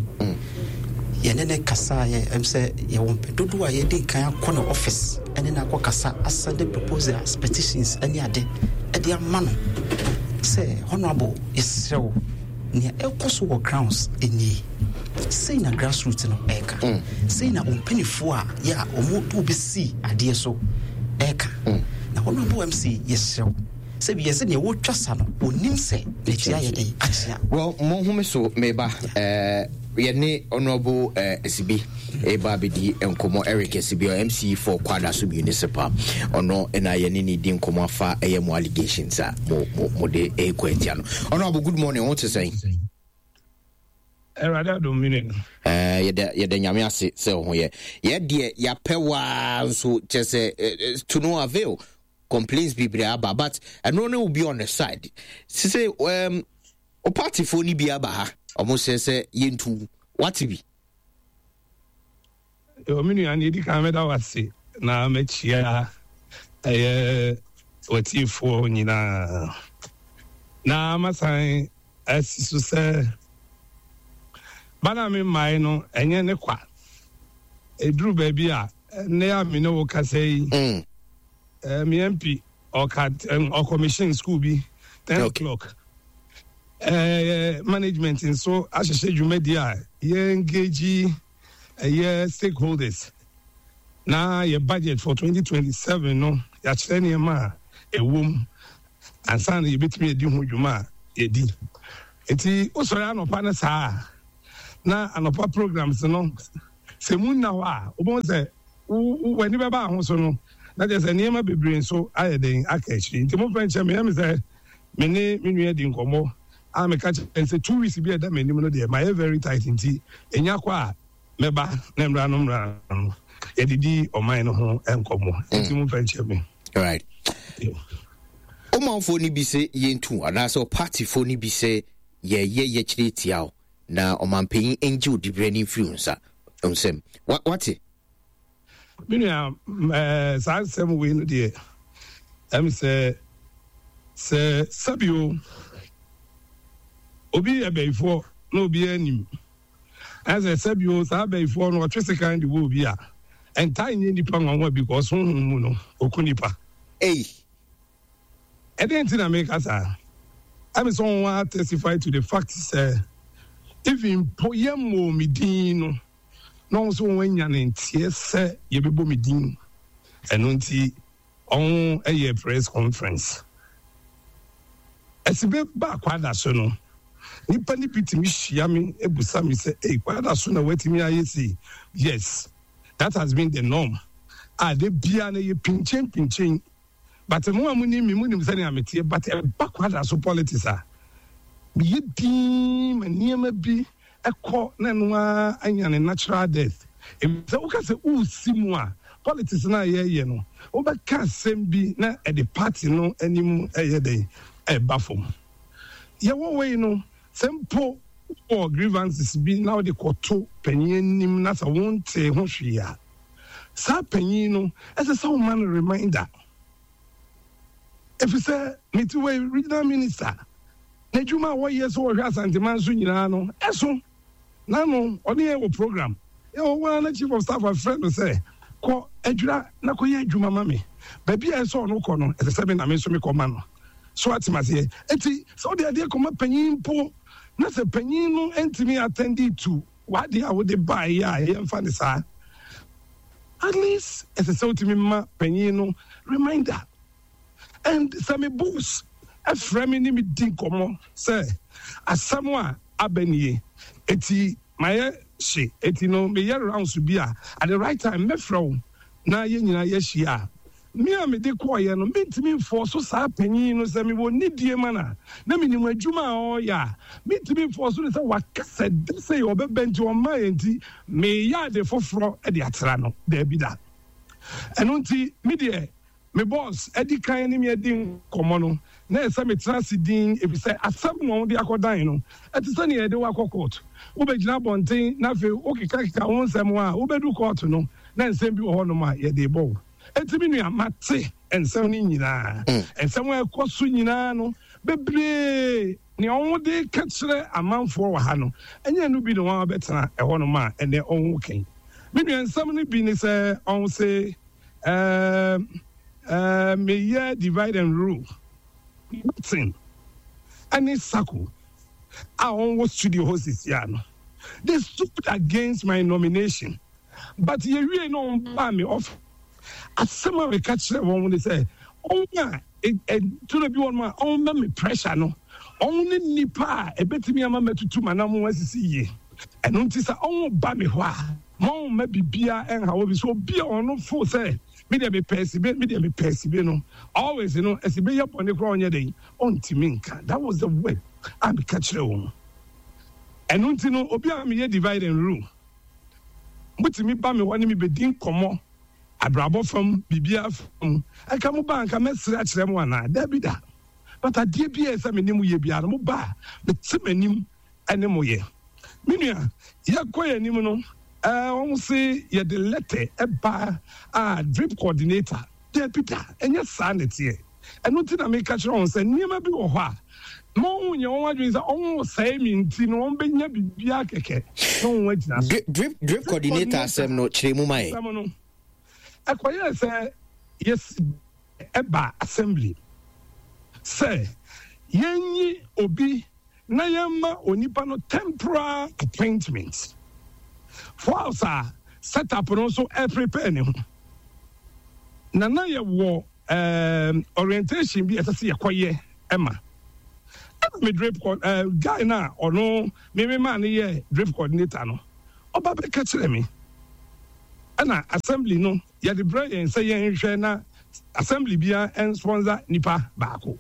Yɛne ne kasa yɛ ɛm sɛ yɛwɔ mpɛ dodoɔ a yɛdi nkan akɔ ne office ɛne no akɔ kasa asɛnde proposals, petitions ɛne ade ɛde ama no sɛ Honorable yɛsrɛ wo nea ɛkɔ so wɔ grounds nie, sei na grassroots no ɛka, sei na ɔmpanifoɔ a yɛ a ɔmo de wobɛsi adeɛ so ɛka. Na Honorable MC yɛsrɛ wo sɛ bi yɛsɛ nea wɔtwa sa no ɔnim sɛ n'akyi ayɛ dɛn akyea. Well, mo home so meba yɛne Honorable Asibi ɛba abɛdi nkɔmmɔ. Eric Asibi, MC for Kwadaso Municipal, ɔno na yɛne ne di nkɔmmɔ afa ɛyɛ mo allegations a mo de ɛkɔ atia no. Honorable, good morning, wo te sɛn? Awurade adom me nua. Yɛda Nyame ase sɛ wo ho yɛ. Yɛ deɛ yɛapɛ waa nso kyɛ sɛ to no avail, complaints bebree aba, but ɛno ne will be on the side. Sise o partyfoɔ no bi aba ha, ɔmo sɛ sɛ yɛntu wate bi. Yo, me nua, nea edi kan mɛda wo ase na makyia ɛyɛ w'atiefoɔ nyinaa na masan asi so sɛ Ba no a memmae no, ɛnyɛ ne kwa. Ɛduru baabi a, nnɛ a me ne wo kasa yi, me MP ɔka ɔkɔmihyin school bi 10 o'clock. Management nso ahyehyɛ dwumadi a yɛ engage ɛyɛ stakeholders na yɛ budget for 2027 no yɛakyerɛ nneɛma a ɛwɔ mu ansa na yɛbɛtumi adi ho dwuma a yɛdi. Nti wosɔre anɔpa no saa a, na anɔpa programs no sɛ mu nna hɔ a, wobɛhu sɛ w'ani bɛba ho so no na kyerɛ sɛ nneɛma bebree nso ayɛ den aka akyiri. Nti momfa nkyɛ me, ɛyɛ me sɛ me ne me nua di nkɔmmɔ a meka kyerɛ no sɛ 2 weeks bi a ɛda m'anim no deɛ mayɛ very tight nti ɛnya kɔ a mɛba na mmra no mmra no yɛde di ɔman no ho nkɔmmɔ. Nti momfa nkyɛ me. Right. Ɔmanfoɔ no bi sɛ yɛntu anaasɛ ɔpartyfoɔ no bi sɛ yɛyɛ yɛkyerɛ tia wo na ɔmanpanyin ngye wo diberɛ no mfiri wo nsa nsam. Wate? Me nua, saa nsɛm wei no deɛ, ɛm sɛ sɛ sɛbio obi yɛ bɛyifoɔ na obi anim ɛsɛ sɛbio saa bɛyifoɔ no ɔtwe sekan de wɔ obi a, ɛntaa nyɛ nipa nwanwa because honhom mu no ɔku nipa. Ei. Ɛdɛn nti na meka saa? Ɛme sɛ wɔn ara testify to the fact sɛ even mpo yɛmmɔɔ me din no, na wɔn nso wɔn anya ne nteɛ sɛ yɛbɛbɔ me din. Ɛno nti wɔn yɛ press conference. Ɛsibe ba Kwada so no, nipa no bi tumi hyia me busa me sɛ, ei, Kwada so na watumi ayɛ sei? Yes, that has been the norm. A da biara no yɛ pinkyen pinkyen. But mo a monim me, monim sɛnea meteɛ, but ɛba Kwada so politics a, meyɛ dinn ma nneɛma bi kɔ na ɛno ara anya ne natural death. Efisɛ woka sɛ woresi mu a, politics no a yɛreyɛ no, wobɛka asɛm bi na ɛde party no anim ɛyɛ dɛn? Ɛba fam. Yɛwɔ wei no, sɛ mpo wowɔ grievances bi na wode kɔto panyin anim na sɛ wontee ho hwee a, saa panyin no, ɛsɛ sɛ woma no reminder. Efisɛ mete wei, regional minister, n'adwuma a wɔyɛ sɛ wɔhwɛ Asanteman so nyinaa no, ɛso. N'ano, ɔne yɛn wɔ program. Yɛwɔ hɔ ara na chief of staff afrɛ no sɛ, kɔ Adwira na kɔyɛ adwuma ma me. Baabi a ɛsɛ sɛ ɔno kɔ no, ɛsɛ sɛ me na me nso mekɔ ma no. So ate aseɛ? Enti, sɛ wode adeɛ kɔma panyin mpo, na sɛ panyin no ntumi attend to w'adeɛ a wode baeɛ a, yɛmfa no saa. At least, ɛsɛ sɛ wotumi ma panyin no reminder. And sɛ me boss frɛ me ne me di nkɔmmɔ sɛ asɛm a aba nie, eti mayɛ hye, eti no meyɛ rounds bi a, at the right time mɛfrɛ wo na yɛn nyinaa yɛahyia a, me a mede kɔeɛ no mentumi mfɔɔso saa panyin no sɛ mewɔ nidie ma no a, na menim adwuma a ɔreyɛ a, mentumi mfɔɔso no sɛ waka sɛ da sei ɔbɛba nti ɔmmaeɛ nti meyɛ ade foforɔ de atra no. Daabi da. Ɛno nti me deɛ Me bɔs adi kan ne me adi nkɔmmɔ no, na ɛsɛ sɛ metra ase dinn efisɛ asɛm na wɔde akɔdan no. Ɛte sɛ nea yɛde wo akɔ kɔɔto. Wobegyina abɔnten na afei wokekakeka wo nsɛm a, wubedu kɔɔto no na nsɛm bi wɔ hɔnom a yɛde rebɔ wo. Enti me nua, mate nsɛm no nyinaa. Nsɛm a ɛkɔ so nyinaa no, bebree nea wɔde reka kyerɛ amanfoɔ wɔ ha no, ɛnyɛ ɛno bi na wɔabɛtena ɛhɔnom a ɛnnɛ wɔreka yi. Me nua, nsɛm no bi ne sɛ wɔse, Ɛɛm ɛɛm meyɛ divide and rule. Martin ɛne Sako a wɔn wɔ studio hɔ sisi a no, they stood against my nomination but yɛwie na wɔn baa me office. Asɛm a meka kyerɛ wɔn ne sɛ wɔn a ɛtoro bi wɔn a wɔn ma me pressure no, wɔn ne nnipa a ɛbɛtumi ama matutu m'anamon asisi yie. Ɛno nti sɛ wɔn ba me hɔ a, Momma biribiara ɛnha obi. So obi a ɔno fo sɛ me deɛ mepɛ asibe, me deɛ mepɛ asibe no, always no asibe yɛ bɔne koraa ɔnyɛ dɛn, ɔntumi nka. That was the word a meka kyerɛ wɔn. Ɛno nti no, obi a meyɛ divide and rule, motumi ba me hɔ ne me bɛdi nkɔmmɔ, abrabɔ fam, biribiara fam, ɛnka mo ba anka mɛsere akyerɛ mo anaa? Daabi da. But adeɛ bi a ɛsɛ me ne mo yɛ biara no, mo ba a, mete m'anim ne mo yɛ. Me nua, yɛkɔ yɛn anim no, eh, wɔn se yɛde lɛtɛ ɛba a drip coordinator. Dabi da, ɛnyɛ saa na ɛteɛ. Ɛno nti na meka kyerɛ wɔn sɛ nneɛma bi wɔ hɔ a, Ma wɔn nyɛ wɔn adwene sɛ wɔresɛe me nti no wɔbɛnya biribiara kɛkɛ na wɔn agyina so. Drip, drip coordinator asɛm no kyerɛ mu ma yɛ. Asɛm no, ɛkɔyɛɛ sɛ yɛsi ɛba assembly sɛ yɛnyi obi na yɛmma onipa no temporal appointment whilst a set up no nso ɛprepare ne ho. Na na yɛwɔ um, orientation bi ɛsɛ sɛ yɛkɔyɛ ɛma ɛna me drip uh, guy no a ɔno meme maa no yɛ drip coordinator no ɔba bɛka kyerɛ me ɛna assembly no yɛde brɛ yɛn sɛ yɛnhwɛ na assembly bia ɛnsponsor nipa baako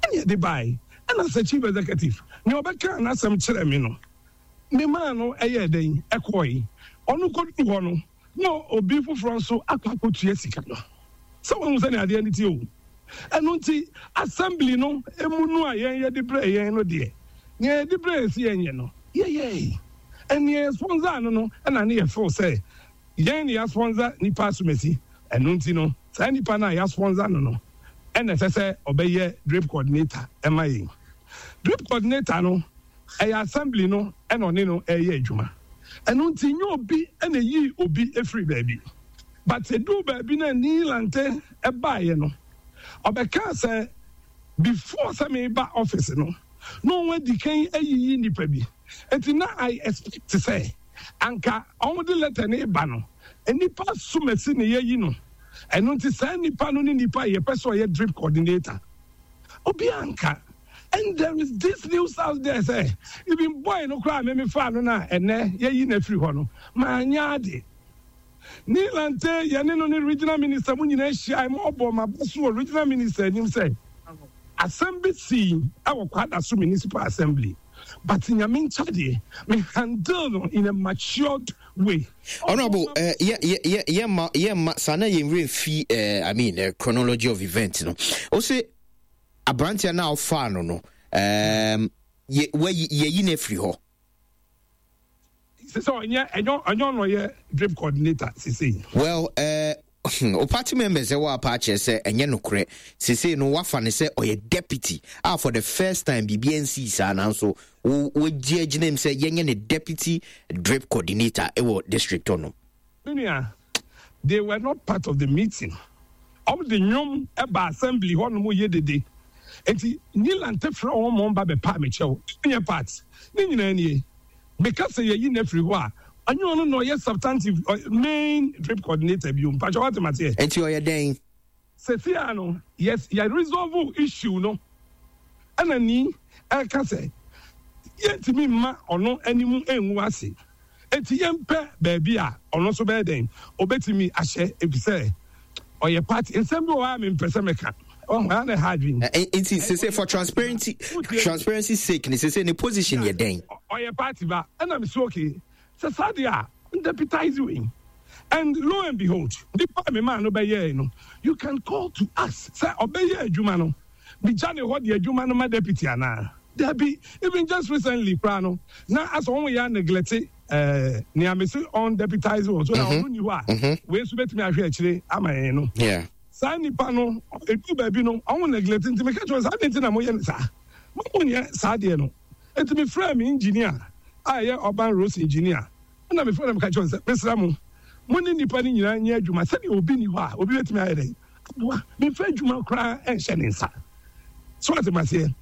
ɛna yɛde bae ɛna sɛ chief executive nea ɔbɛka n'asɛm kyerɛ me no memaa no ɛyɛɛ dɛn ɛkɔe ɔno kɔduru hɔ no na obi foforɔ nso akɔ akɔtua sika no. Sɛ woahu sɛnea adeɛ no teɛ o. Ɛno nti, assembly no mu no a yɛn yɛde brɛɛ yɛn no deɛ, nea yɛde brɛɛ yɛn sɛ yɛnyɛ no, yɛyɛe. And nea yɛsponsor no no, ɛna ne yɛ feel sɛ yɛn na yɛasponsor nipa asomasi. Ɛno nti no, saa nipa no a yɛasponsor no no, ɛna ɛsɛ sɛ ɔbɛyɛ drip coordinator ma yɛn. Drip coordinator no, ɛyɛ assembly no na ɔne no reyɛ adwuma. Ɛno nti nyɛ obi na eyii obi firii baabi. But eduu baabi na Nii Lante baeɛ no, ɔbɛkaa sɛ before sɛ meba office no, na wɔn adi kan ayiyi nnipa bi. Nti na I expect sɛ anka wɔde letter no reba no, nnipa asumasi na yɛayi no. Ɛno nti saa nnipa no ne nnipa a yɛpɛ sɛ ɔyɛ drip coordinator. Obiara nka. And there is this news out there sɛ even boy no koraa me me faa no na ɛnɛ yɛyi no afiri hɔ no manyɛ ade. Nii Lante yɛne no ne regional minister mu nyinaa hyiae ma ɔbɔɔ m'aba so wɔ regional minister anim sɛ asɛm bi sii wɔ Kwadaso Municipal Assembly but Nyame nkyɛdeɛ me handle no in a matured way. Honorable, yɛ yɛ yɛ yɛ ma yɛ ma saa na yɛn werɛ mfi I mean chronology of events no. Ose aberanteɛ no a ɔfaa no no um, yɛ wayi yɛyi no afiri hɔ. Sɛ sɛ ɔnyɛ ɛnyɛ ɔnyɛ ɔno ɔyɛ drip coordinator sisi. Well, o party members ɛwɔ apa akyerɛ sɛ ɛnyɛ nokorɛ sesei no wafa no sɛ ɔyɛ deputy a for the first time biribi ansii saa nanso wagye agyina mu sɛ yɛnyɛ ne deputy drip coordinator ɛwɔ district hɔ nom. Me nua, they were not part of the meeting. Wɔn de nnwom ba assembly hɔ nom yɛ dede. Nti Nilante frɛ wɔn ma wɔn ba bɛpaa me kyɛw. Ɛnyɛ part. Ne nyinaa nie. Meka sɛ yɛyi no afiri hɔ a, ɛnyɛ ɔno na ɔyɛ substantive main drip coordinator bio. Mpakyɛ wate maseɛ? Nti ɔyɛ dɛn? Seesei ara no, yes, yɛ resolve issue no. Ɛna ni ɛka sɛ yɛntumi mma ɔno anim ngu ase. Enti yɛmpɛ baabi a ɔno nso bɛyɛ dɛn? Ɔbɛtumi ahyɛ efisɛ ɔyɛ party. Nsɛm bi wɔ hɔ a mempɛ sɛ mɛka. Wahu, ɛha na ɛha adwene. Nti sese for transparency transparency sake ne sese ne position yɛ dɛn? Ɔyɛ party ba. Ɛna mese okay, sɛ saa deɛ a, deputize wei. And lo and behold, nipa a memaa no bɛyɛɛe no, you can call to ask sɛ ɔbɛyɛ adwuma no, megya ne hɔ de adwuma no ma deputy anaa? Dabi, even just recently koraa no, na asɛ wɔn yɛ neglect eh, nea mese ɔn deputize wɔn so na ɔno ni hɔ a, wei nso bɛtumi ahwɛ akyire ama yɛn no. Saa nipa no, ɛduru baabi no, ɔmo neglect nti meka kyerɛ wɔn sɛ adɛn nti na moyɛ no saa? Mo monyɛ saa adeɛ no. Nti mefrɛɛ me engineer a ɛyɛ urban roads engineer, ɛna mefrɛ no meka kyerɛ wɔn sɛ mesrɛ mo, mo ne nnipa no nyinaa nyɛ adwuma sɛdeɛ obi nni hɔ a obi bɛtumi ayɛ dɛn aboa. Memfa adwuma koraa nhyɛ ne nsa. So ate maseɛ?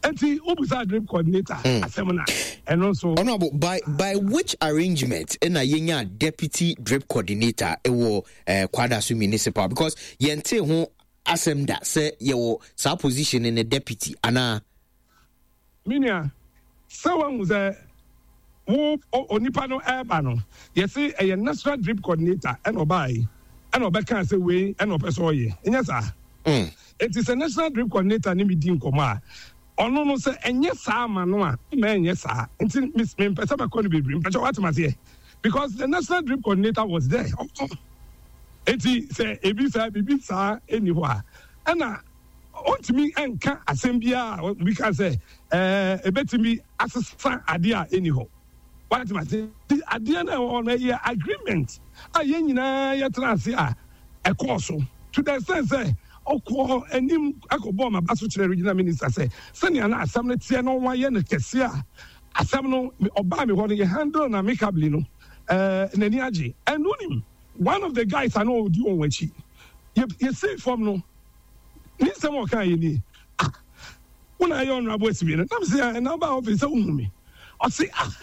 Nti wobusa drip coordinator asɛm no a, ɛno nso. Honorable, by which arrangement na yɛnya deputy drip coordinator wɔ Kwadaso Municipal? Because yɛntee ho asɛm da sɛ yɛwɔ saa position ne deputy anaa? Me nua, sɛ woahu sɛ wo onipa no ɛreba no, yɛse ɛyɛ National Drip Coordinator ɛna ɔbae ɛna ɔbɛkaa sɛ wei ɛna ɔpɛ sɛ ɔyɛ, ɛnyɛ saa? Enti sɛ National Drip Coordinator ne me di nkɔmmɔ a, ɔno no sɛ ɛnyɛ saa ma no a, mma ɛnyɛ saa. Nti mempɛ sɛ mɛkɔ no bebree, mpakyɛ woate maseɛ? Because the National Drip Coordinator was there. Enti sɛ ebi saa, biribi saa ɛnni hɔ a, ɛna Ontumi nka asɛm biara a obi ka sɛ ɛɛ ebetumi asesa adeɛ a ɛnni hɔ. Wate ase? Nti adeɛ no a ɛwɔ hɔ no ɛyɛ agreement a yɛn nyinaa yɛtena ase a ɛkɔɔ so to the extent sɛ Ɔkɔɔ anim kɔbɔɔ m'aba so kyerɛɛ Regional Minister sɛ sɛnea na asɛm no teɛ na wɔayɛ no kɛse a asɛm no ɔbaa me hɔ no yɛ handle no amicably no n'ani agye. And wonim one of the guys a na ɔdi wɔn akyi yɛ yɛsii fam no ne nsɛm a ɔkaa yɛ nie, ah wo na ayɛ honourable asibe no? Na mese ah na wobaa office sɛ wohu me? Ɔse ah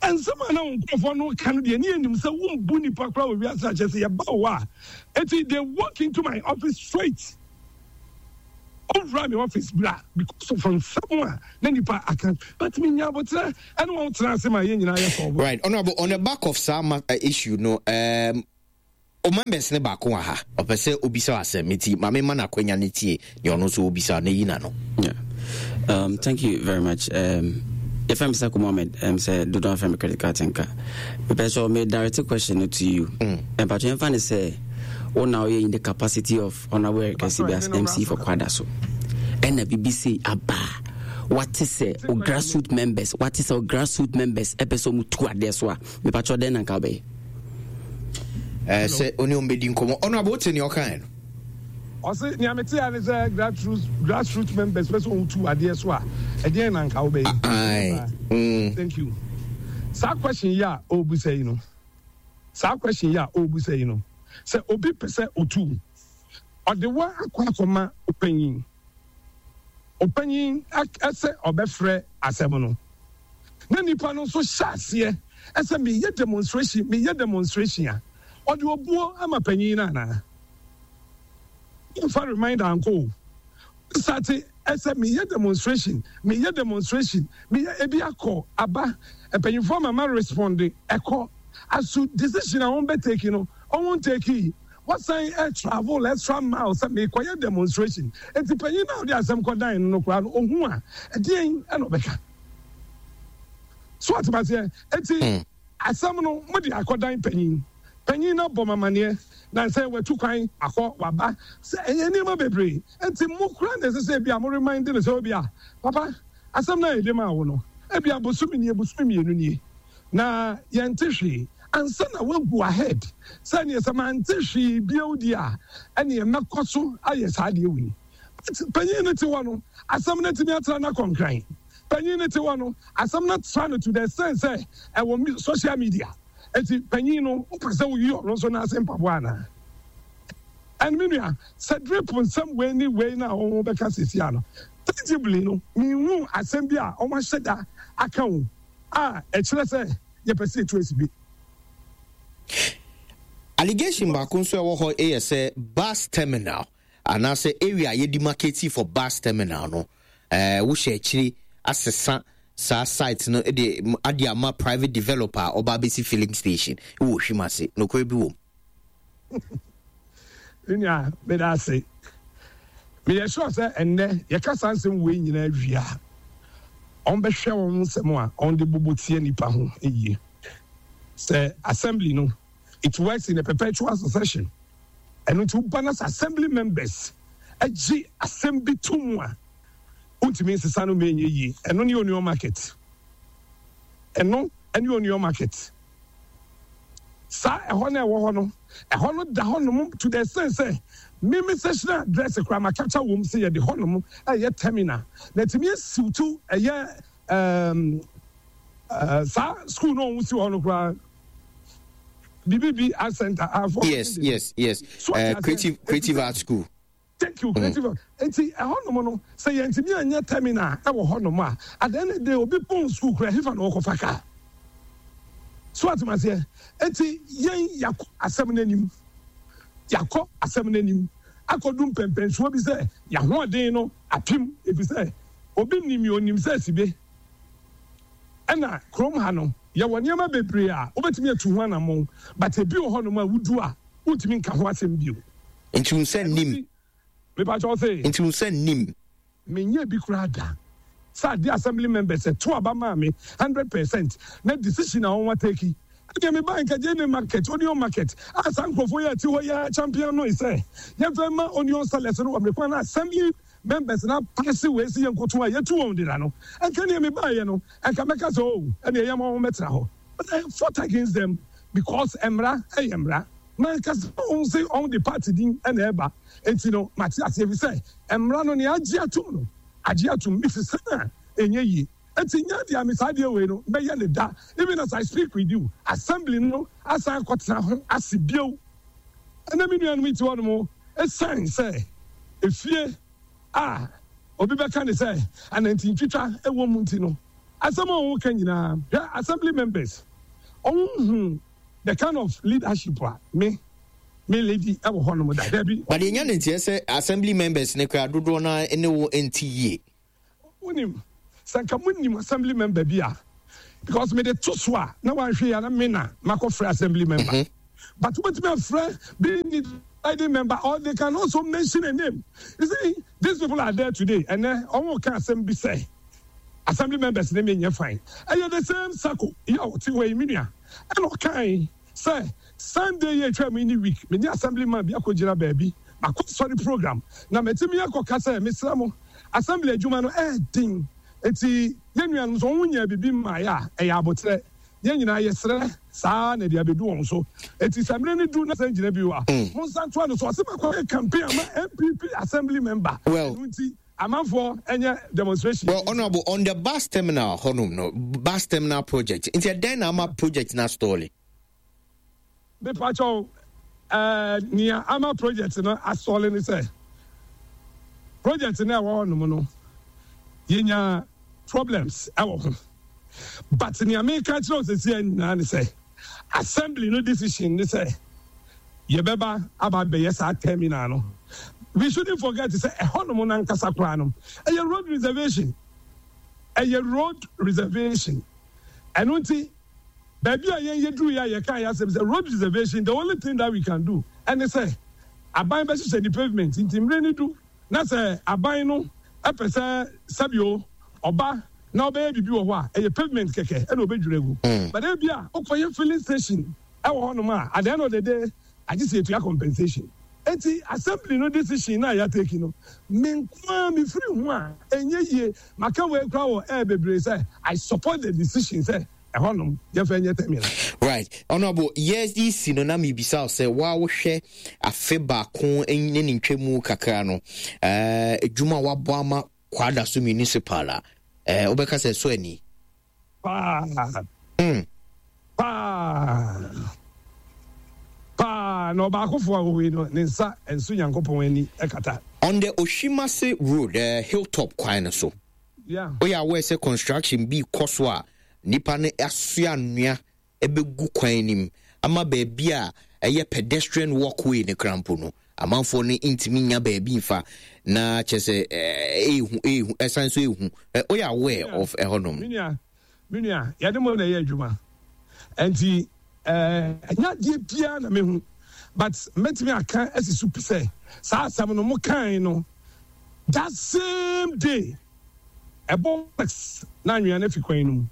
Nsɛm a na wo nkurɔfoɔ no reka no deɛ, ne yɛnim sɛ wombu nnipa koraa wɔ wiase a kyerɛ sɛ yɛba wo hɔ a. Enti they walk into my office straight. Ɔwura me office bra because of nsɛm a na nnipa aka. But menya aboterɛ ɛne wɔn tena ase ma yɛn nyinaa yɛ solve. Right, Honourable, on the back of saa ma, uh, issue no, um, o members ne baako wɔ ha, ɔpɛ sɛ obisa wo asɛm, nti ma memma no akwanya no tie deɛ ɔno nso obisa na yi n'ano. Yeah. Thank you very much. Yɛfrɛ me Sako Mohammed, sɛ dodoɔ afrɛ me credit card nka. Mepɛ sɛ me direct question to you. Mpatwɛ mfa ne sɛ wo na woyɛ in the capacity of Honorable Eric Asibi as MC for Kwadaso. Ɛna bibi sei aba wate sɛ o grassroot members wate sɛ o grassroot members ɛpɛ sɛ ɔmo tu adeɛ so a mepatwɛ dɛn na nka wobɛyɛ? Eh, sɛ ɔne ɔmo bɛdi nkɔmmɔ. Honorable, wote nea ɔkae no? Ɔse nea mete a ne sɛ grassroots grassroots members pɛ sɛ wɔn tu adeɛ so a ɛdeɛn na nka wobɛyɛ? Aye. Mm. Thank you. Saa question yi a ɔrebisa yi no, saa question yi a ɔrebisa yi no, sɛ obi pɛ sɛ otu, ɔde wa akɔ akɔma ɔpanyin. Ɔpanyin sɛ ɔbɛfrɛ asɛm no, na nipa no nso hyɛ aseɛ sɛ meyɛ demonstration, meyɛ demonstration a, ɔde obuo ama panyin no anaa? Womfa reminder ankɔ o. Wosate sɛ meyɛ demonstration, meyɛ demonstration, meyɛ ebi akɔ aba, mpanyinfoɔ ama ma responde ɛkɔ. As to decision a wɔn bɛ take no, wɔn ntake. Wasan travel extra mile sɛ merekɔyɛ demonstration. Enti panyin no a ɔde asɛm kɔdan no no koraa no, ohu a, ɛdeɛn na ɔbɛka? So ate aseɛ? Enti asɛm no, mode akɔdan panyin. Panyin no abɔ me amanneɛ, na sɛ watu kwan akɔ, waba, sɛ ɛyɛ nneɛma bebree. Enti mo koraa na ɛsɛ sɛ ebia mo remind no sɛ ebia, papa, asɛm no a yɛde maa wo no, ebia bosome nie, bosome mmienu nie. Na yɛnte hwee ansa na woagu ahead sɛ neɛ sɛ mante hwee bio deɛ a ɛneɛ mɛkɔ so ayɛ saa adeɛ wei. But panyin no te hɔ no asɛm no atumi atra no akɔ nkran. Panyin no te hɔ no asɛm no atra no to the extent sɛ ɛwɔ social media. Enti panyin no wopɛ sɛ woyi ɔno nso n'ase mpaboa anaa? And me nua sɛ drip nsɛm wei ne wei no a wɔbɛka seesei ano tangibly no menhuu asɛm bi a wɔahyɛ da aka o. a ɛkyerɛ sɛ yɛpɛ sɛ yɛtu asi bi. Allegation baako nso a ɛwɔ hɔ yɛ sɛ bus terminal anaasɛ area a yɛdemarcate for bus terminal no, eh, wohyɛ akyiri asesa saa site no de ade ama private developer a ɔba abɛsi filling station wɔ Ohwim ase. Nokorɛ bi wɔ mu? Me nua, meda ase. Meyɛ sure sɛ ɛnnɛ yɛka saa nsɛm wei nyinaa wie a, wɔbɛhwɛ wɔn nsɛm a wɔde bobɔ tia nnipa ho yie. Sɛ assembly no, it works in a perpetual succession. Ɛno nti woba na sɛ assembly members gye asɛm bi to mu a, wontumi nsesa no ma ɛnyɛ yie. Ɛno ne onion market. Ɛno ne onion market. Saa ɛhɔ no a ɛwɔ hɔ no, ɛhɔ no da hɔnom to the extent sɛ me me sessional address koraa ma capture wom sɛ yɛde hɔnom ɛyɛ terminal na ɛtumi asiw to ɛyɛ um, uh, saa school no a wɔn si hɔ no koraa bibi bi art center. Yes. So creative art school. Thank you creative mm. Nti ɛhɔ nom no sɛ yɛntumi anyɛ terminal ɛwɔ hɔ nom a at the end of the day obi pɔn school kura hefa na ɔkɔfa kaa so atem aseɛ nti yɛn yakɔ asɛm n'anim yakɔ asɛm n'anim akɔdu mpɛmpɛnsoɔ bi sɛ yahoɔden no apem efisɛ obi nim yɛ onim sɛ sibe ɛna kurom ha no yɛwɔ nneɛma bebree a wobɛtumi atu ho anammɔn but ebi wɔ hɔ nom a wudu a wontumi nka ho asɛm bio. Nti wo nsa nnim. Mepa kyɛw se. Nti wo nsa nnim. Menyɛɛ bi koraa da sɛ adeɛ assembly members to aba maa me 100% na decision a wɔn atake ɛdeɛ me bae nka gyeene market, onion market a saa nkurɔfoɔ yi a ɛte hɔ yi ara champion noe sɛ yɛmfa mma onion sellers no wɔ mmere kwan na assembly members no apaase wei se yɛnkoto a yɛtu wɔn deda no nka neɛ me baeɛ no nka mɛka sɛ oh ɛneɛ yɛma wɔn mɛtena hɔ but I fought against them because mmara ɛyɛ mmara. Mankasa wɔn se wɔn de party din na ɛba enti no mate aseɛ efisɛ mmara no nea agye atom no agye atom mesesa no a ɛnyɛ yie enti nyɛ adeɛ a me saa adeɛ wei no mɛyɛ no da even as I speak with you assembly no asan akɔtena ho ase bio ɛnɛ me nuanom yi te hɔ nom ɛsiane sɛ efie a obi bɛka ne sɛ anantintwitwa ɛwɔ mu nti no asɛm a wɔn ka nyinaa hwɛ assembly members wɔn hu the kind of leadership a me me lady ɛwɔ hɔ nom da dabi. But yɛnya ne nteɛ sɛ assembly members ne koraa dodoɔ no ara ne wo nte yie. Wonim sɛ nka mo nim assembly member bi a because me de to so a na wanhwɛ yɛ na me na makɔ frɛ assembly member mm -hmm. but wobɛtumi afrɛ being the leading member or they can also mention a name you see these people are there today ɛnɛ ɔmo ka asɛm bi sɛ assembly members ne me nyɛ fine ɛyɛ the same sako yɛ ɔte hɔ yi me nua Ɛna ɔkae sɛ, Sunday yi a etwaam yi ne week, me ne Assembly man bi akɔgyina baabi, makɔ asɔre program, na matumi akɔka sɛ, Mesrɛ mo, Assembly adwuma no ɛyɛ den, enti yɛn nuanom sɛ wɔn nyaa biribi mmaeɛ a, ɛyɛ aboterɛ. Yɛn nyinaa yɛsrɛ saa ara na ɛde abɛdu wɔn so. Enti sɛ mmerɛ no du na san gyina bio a, monsan ntoa no so. Ɔse makɔyɛ campaign ama NPP Assembly member, ɛno nti Amanfoɔ ɛnyɛ demonstration. Well honourable on the bus terminal hɔnom no bus terminal project nti ɛdɛn na ama project na stɔɔle. Mepakyɛw ɛɛ nea ama project no asɔle ne sɛ project no ɛwɔ hɔnom no yɛnya problems ɛwɔ ho but nea meka kyerɛ wo sɛsi nyinaa ne sɛ Assembly no decision ne sɛ yɛbɛba aba abɛyɛ saa terminal no. We shouldn't forget sɛ ɛhɔnom no ankasa koraa no, ɛyɛ road reservation. Ɛyɛ road reservation. Ɛno nti, baabi a yɛn yɛduruiɛ a yɛkaa yɛn asɛm sɛ road reservation, the only thing that we can do ɛne sɛ aban bɛhyehyɛ ne pavement. Nti mmerɛ no du na sɛ aban no pɛ sɛ sɛbio ɔba na ɔbɛyɛ biribi wɔ hɔ a, ɛyɛ pavement kɛkɛ na ɔbɛdwiri agu. But ebia wokɔyɛ filling station wɔ hɔnom a, at the end of the day, agye sɛ yɛtua compensation. Enti assembly no decision no a yɛatake no, me nko ara mefiri ho a, ɛnyɛ yie. Maka wei koraa wɔ air bebree sɛ, I support the decision sɛ ɛhɔnom yɛmfa nyɛ terminal. Right. Honourable, yɛresi no na mebisa wo sɛ, wo a wohwɛ afe baako ne ne ntwamu kakra no, adwuma a woabɔ ama Kwadaso Municipal a, eh, wobɛka sɛ ɛsɔ ani? Paa. Mm. Paa. Paa. Na ɔbaakofo a ɔwɔ no, ne nsa nso Nyankopɔn ani kata. On the Oshimase Road, eh, Hilltop kwan no so. Yeah. Woyɛ aware sɛ construction bi kɔ so a, nipa no asoa nnua bɛgu kwan no mu ama baabi a ɛyɛ pedestrian walkway no kora mpo no, amanfoɔ no ntumi nya baabi mfa na kyɛ sɛ ɛɛhu ɛɛhu ɛsan so ɛɛhu. Woyɛ aware of ɛhɔnom? Me nua, me nua, yɛde mo na ɛyɛ adwuma nti ɛnyɛ adeɛ biara na mehu but mɛtumi aka asi so pi sɛ saa asɛm no mo kan no that same day ɛbɔ na anwea no afi kwan no mu.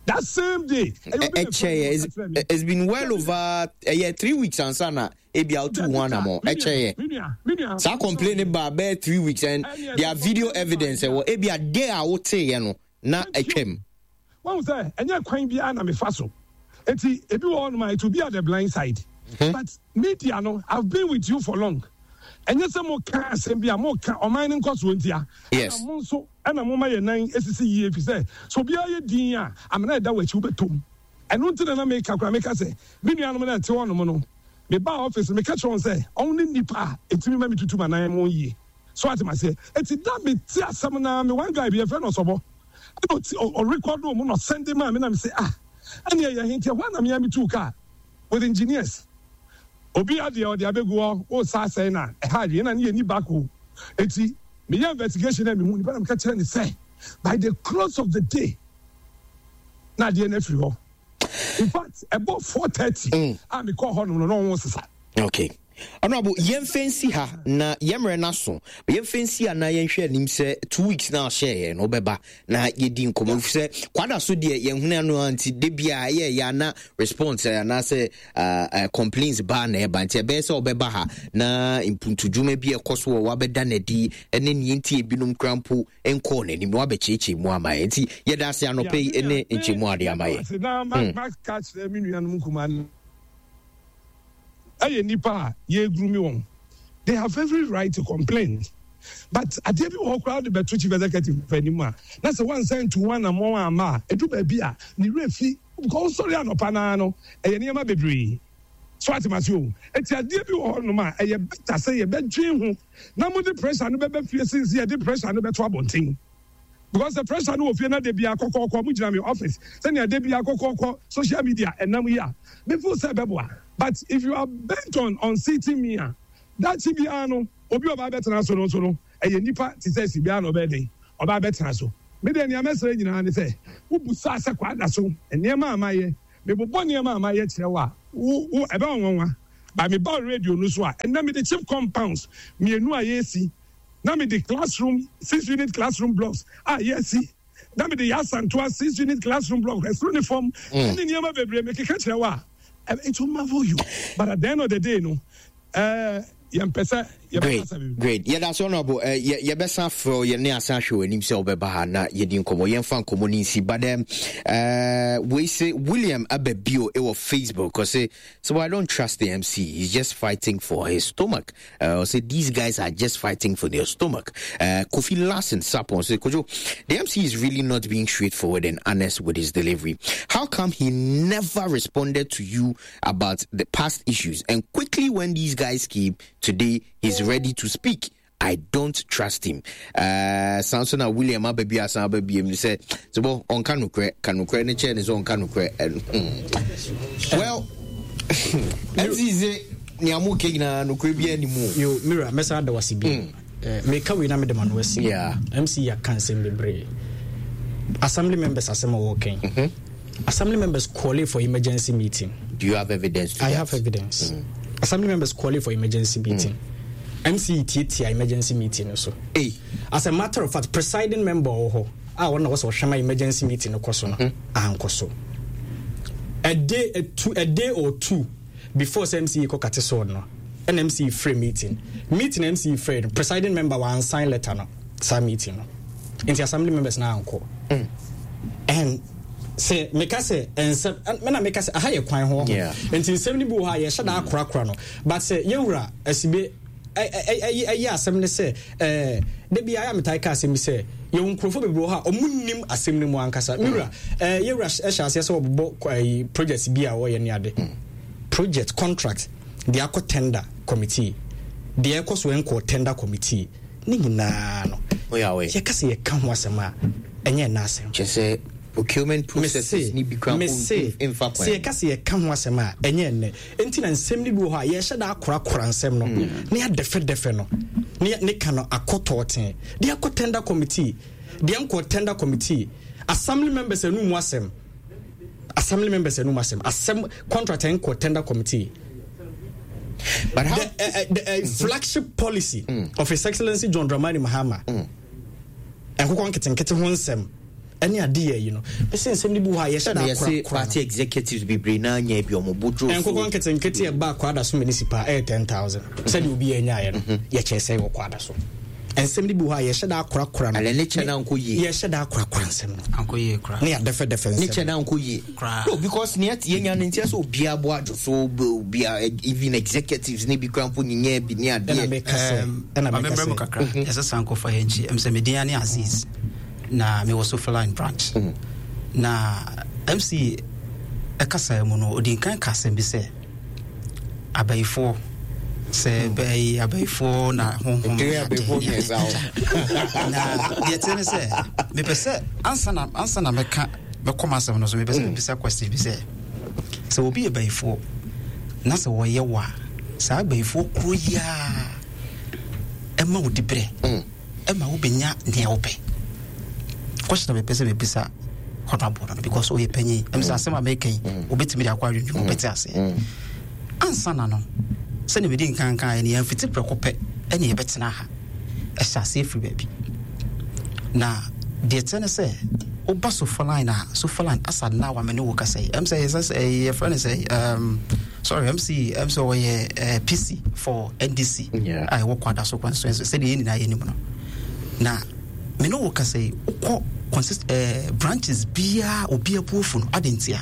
That same day. Ɛkyɛyɛ it's been well over ɛyɛ 3 weeks ansa na ebi a wotu ho anamɔ ɛkyɛyɛ. Saa complain ne ba bɛyɛ 3 weeks and there are video evidence ɛwɔ ebi a day a woteeɛ no na ɛtwam. Wɔn sɛ ɛnyɛ kwan biara na mefa so eti ebi wɔ hɔnom a it will be at the blind side. But media no, I've been with you for long. Ɛnyɛ sɛ mo ka asɛm bi a mo ka ɔman no nkɔsoɔ ntia. Yes. Ɛna mo nso ɛna moma yɛn nan sisi yie efisɛ sɛ obiara yɛ dinn a, amena a ɛda w'akyi wobɛtɔ mu. Ɛno nti na na meka koraa, meka sɛ, me nuanom no a ɛte hɔnom no, mebaa office no, meka kyerɛɛ wɔn sɛ wɔn ne nnipa a ɛtumi ma metutu m'anan yie. So ate m'aseɛ? Enti da a mete asɛm no ara, me one guy bi, yɛfrɛ no Ɔsɔbɔ, ɛna ɔti, ɔ, ɔrekɔdoo mu na ɔsɛnde maa me na mese, ah, ɛnneɛ ɛyɛ he? Nti ɛhɔ ara na me ara metuu kaa with engineers. Obi adeɛ ɔde abɛgu hɔ, wosa asɛe no a, ɛha adwene, ɛna ne yɛnni back o. Enti Meyɛɛ investigation na mehuu nipa na meka kyerɛɛ no sɛ by the close of the day na adeɛ no afiri hɔ. In fact, ɛbɔ 4:30 a mekɔɔ hɔ nom no na ɔho sesa. Okay. Honorable, yɛmfa nsi ha na yɛmmerɛ no aso. Yɛmfa nsi ha na yɛnhwɛ anim sɛ 2 weeks na ɔhyɛɛ yɛn no wobɛba na yɛdi nkɔmmɔ. Ɛfiri sɛ kwada so deɛ yɛnhunu ano a nti da biara ɛyɛ yɛ ana response anaasɛ complaints baa na ɛba nti ɛbɛyɛ sɛ ɔbɛba ha na mpuntudwuma bi a ɛkɔ so wɔ wabɛda n'adi ne neɛ nti ebinom kora mpo nkɔɔ n'anim na wabɛkyerɛkyerɛ mu ama yɛn nti yɛda ase anɔpɛ yi ne nkyɛmu ade ama yɛn. Na maka kyerɛ me nuanom nkumaa no. ɛyɛ nnipa a yɛregrumi wɔn. They have every right to complain. But adeɛ bi wɔ hɔ koraa wode bɛto chief executive anim a, na sɛ woansan antu ho anammɔn amma a, ɛdu baabi a, ne werɛ fi. Because wosɔre anɔpa no ara no, ɛyɛ nneɛma bebree. So ate m'ase o? Enti adeɛ bi wɔ hɔnom a, ɛyɛ better sɛ yɛbɛdwen ho na mode pressure no bɛba fie sen sɛ yɛde pressure no bɛto abɔnten. Because sɛ pressure no wɔ fie na da biara kɔkɔɔkɔ mo gyina me office sɛnea da biara kɔkɔɔkɔ social media ɛnam yi a, me feel sɛ ɛbɛboa. But if you are bent on unseating me a, daakye biara no obi a ɔba abɛtena so no nso no ɛyɛ nipa te sɛ si biara na ɔbɛyɛ dɛn ɔba abɛtena so. Me deɛ nea mɛsrɛ nyinaa ne sɛ wo busaa sɛ Kwadaso nneɛma a mayɛ, mebobɔ nneɛma a mayɛ kyerɛ wo a, wo wo ɛbɛyɛ wo nwanwa. But meba wo radio no so a, ɛnnɛ mede chip compounds mmienu a yɛresi, na mede classroom 6 unit classroom blocks a yɛasi, na mede yɛ Asantoa 6 unit classroom block ɛsoro ne fam ɛne nneɛma bebree mekeka kyerɛ wo a, it will marvel you. But at the end of the day no, yɛmpɛ sɛ Great, yɛbɛkasa bebree. Great. Yɛda so, Honorable. Yɛbɛsan frɛ wo, yɛne asan ahwɛ w'anim sɛ wobɛba ha na yɛdi nkɔmmɔ. Yɛmfa nkɔmmɔ no nsi. But wei se William aba bio ɛwɔ Facebook. Ɔse, so I don't trust the MC. He's just fighting for his stomach. Ɔse, these guys are just fighting for their stomach. Kofi Larson Sapon say, Kojo, the MC is really not being straightforward and honest with his delivery. How come he never responded to you about the past issues? And quickly when these guys came today, he's ready to speak. I don't trust him. Samson and William ababi asan ababi mu sɛ sɛ bɔ ɔnka nokorɛ ka nokorɛ ne kyɛn ne sɛ ɔnka nokorɛ. Well, MC sɛ nea mo kɛ nyinaa nokorɛ bi anim o. Yo, Mira, mɛsan ada wase bi. Meka wei na mede ma no asi. MC yɛaka nsɛm bebree. Assembly members asɛm a wɔkɛn. Assembly members calling for emergency meeting. Do you have evidence to I that? Have evidence. Assembly members calling for emergency meeting. MC tietia emergency meeting no so. Hey. As a matter of fact, presiding member wɔ hɔ a wɔn na wɔsɛ ɔhwɛ ma emergency meeting no kɔ so no ankɔ so. A day, a day or two before sɛ MC kɔ kate sword no, ɛna MC frɛ meeting. Meeting MC frɛ no, presiding member wɔn sign letter no saa meeting no. Nti assembly members na ankɔ. And sɛ meka sɛ nsɛm mena meka sɛ aha yɛ kwan ho nti nsɛm no bi wɔ hɔ a yɛhyɛ da akorakora no, but sɛ yɛwura Asibe ɛyɛ asɛm ne sɛ da bi ayɛ a metae ka asɛm bi sɛ yɛwɔ nkurɔfoɔ bebree wɔ hɔ a ɔmo nnim asɛm no mu ankasa. Mewura, yɛwura hyɛ aseɛ sɛ wɔbobɔ project bi a wɔyɛ ne ade, project contract deɛ akɔ tender committee, deɛ ɛkɔ so ɛnkɔ tender committee ne nyinaa no, yɛka sɛ yɛka ho asɛm a ɛnyɛ ɛna asɛm. Kyɛ sɛ procurement processes ni bi kura mese mfa kwan. Sɛ yɛka sɛ yɛka ho asɛm a ɛnyɛ ɛnnɛ nti na nsɛm no bi wɔ hɔ a yɛhyɛ da akorakora nsɛm no na yɛadɛfɛdɛfɛ no ne ne ka no akɔtɔɔten deɛ akɔ tender committee, deɛ nkɔ tender committee, assembly members anum asɛm, assembly members anum asɛm, asɛm contract nkɔ tender committee. But how the flagship policy of His Excellency John Dramani Mahama, nkokɔ nketenkete ho nsɛm ɛne ade yɛ yi no, bɛsɛ nsɛm no bi wɔ hɔ a yɛhyɛ da yɛse akorakora party no. Executives bebree na anya bi ɔmo bodwo so. Nkokɔ nketenkete ɛba Kwada so municipal ɛyɛ 10,000 sɛdeɛ obi yɛ nyaeɛ no, yɛkyɛ sɛ wɔ Kwada so. Nsɛm no bi wɔ hɔ a yɛhyɛ da akorakora no. Alɛ ne kyɛ na nkɔ yie. Yɛhyɛ da akorakora nsɛm no ankɔ yie koraa. Ne yɛadɛfɛdɛfɛ Ne nsɛm. Kyɛ na nkɔ yie. Koraa. No, because nea yɛnya no nti sɛ obiara bo adwo so obiara, even executives ne bi kora mpo nyinya bi ne ɛna adeɛ. meka sɛ ɛna meka mamembrɛ mu sɛ kakra, yɛsɛ san kɔfa yɛ nkyi ɛm sɛ medin ne Aziz na mewɔ Sofaline branch na MC ɛkasaa mu no, ɔdi nkan ka asɛm bi sɛ abayifoɔ sɛ bɛyi abayifoɔ na honhom Ɛdere ne ade. abayifoɔ mmiɛnsa hɔ. Na deɛ teɛ ne sɛ mepɛ sɛ ansa na mɛka mɛkɔ m'asɛm no so, mepɛ sɛ mebisa question bi sɛ obi yɛ bayifoɔ na sɛ wɔyɛ wo a, saa bayifoɔ kuro yi a ɛma wo diberɛ ɛma wobɛnya nea wopɛ. Question a mepɛ sɛ mebisa honorable no, because ɔyɛ panyin, ɛm sɛ asɛm a meka yi wobɛtumi de akɔ adwendwene, wobɛte aseɛ. Ansa na no, sɛne mede nkanka ɛne yɛmfiti prɛko pɛ ɛne yɛbɛtena ha, ɛhyɛ aseɛ firi baabi. Na deɛ kyɛ ne sɛ woba Sofaline a, Sofaline asa na wa me ne wo kasa yi, ɛm sɛ yɛsɛ sɛ yɛfrɛ no sɛ sorry, MC, ɛm sɛ ɔyɛ PC for NDC a ɛwɔ Kwada so constituency, sɛdeɛ yɛn nyinaa yɛnim no. Na me ne wo kasa yi, wokɔ consist branches biara, obi abuofu no ade ntia.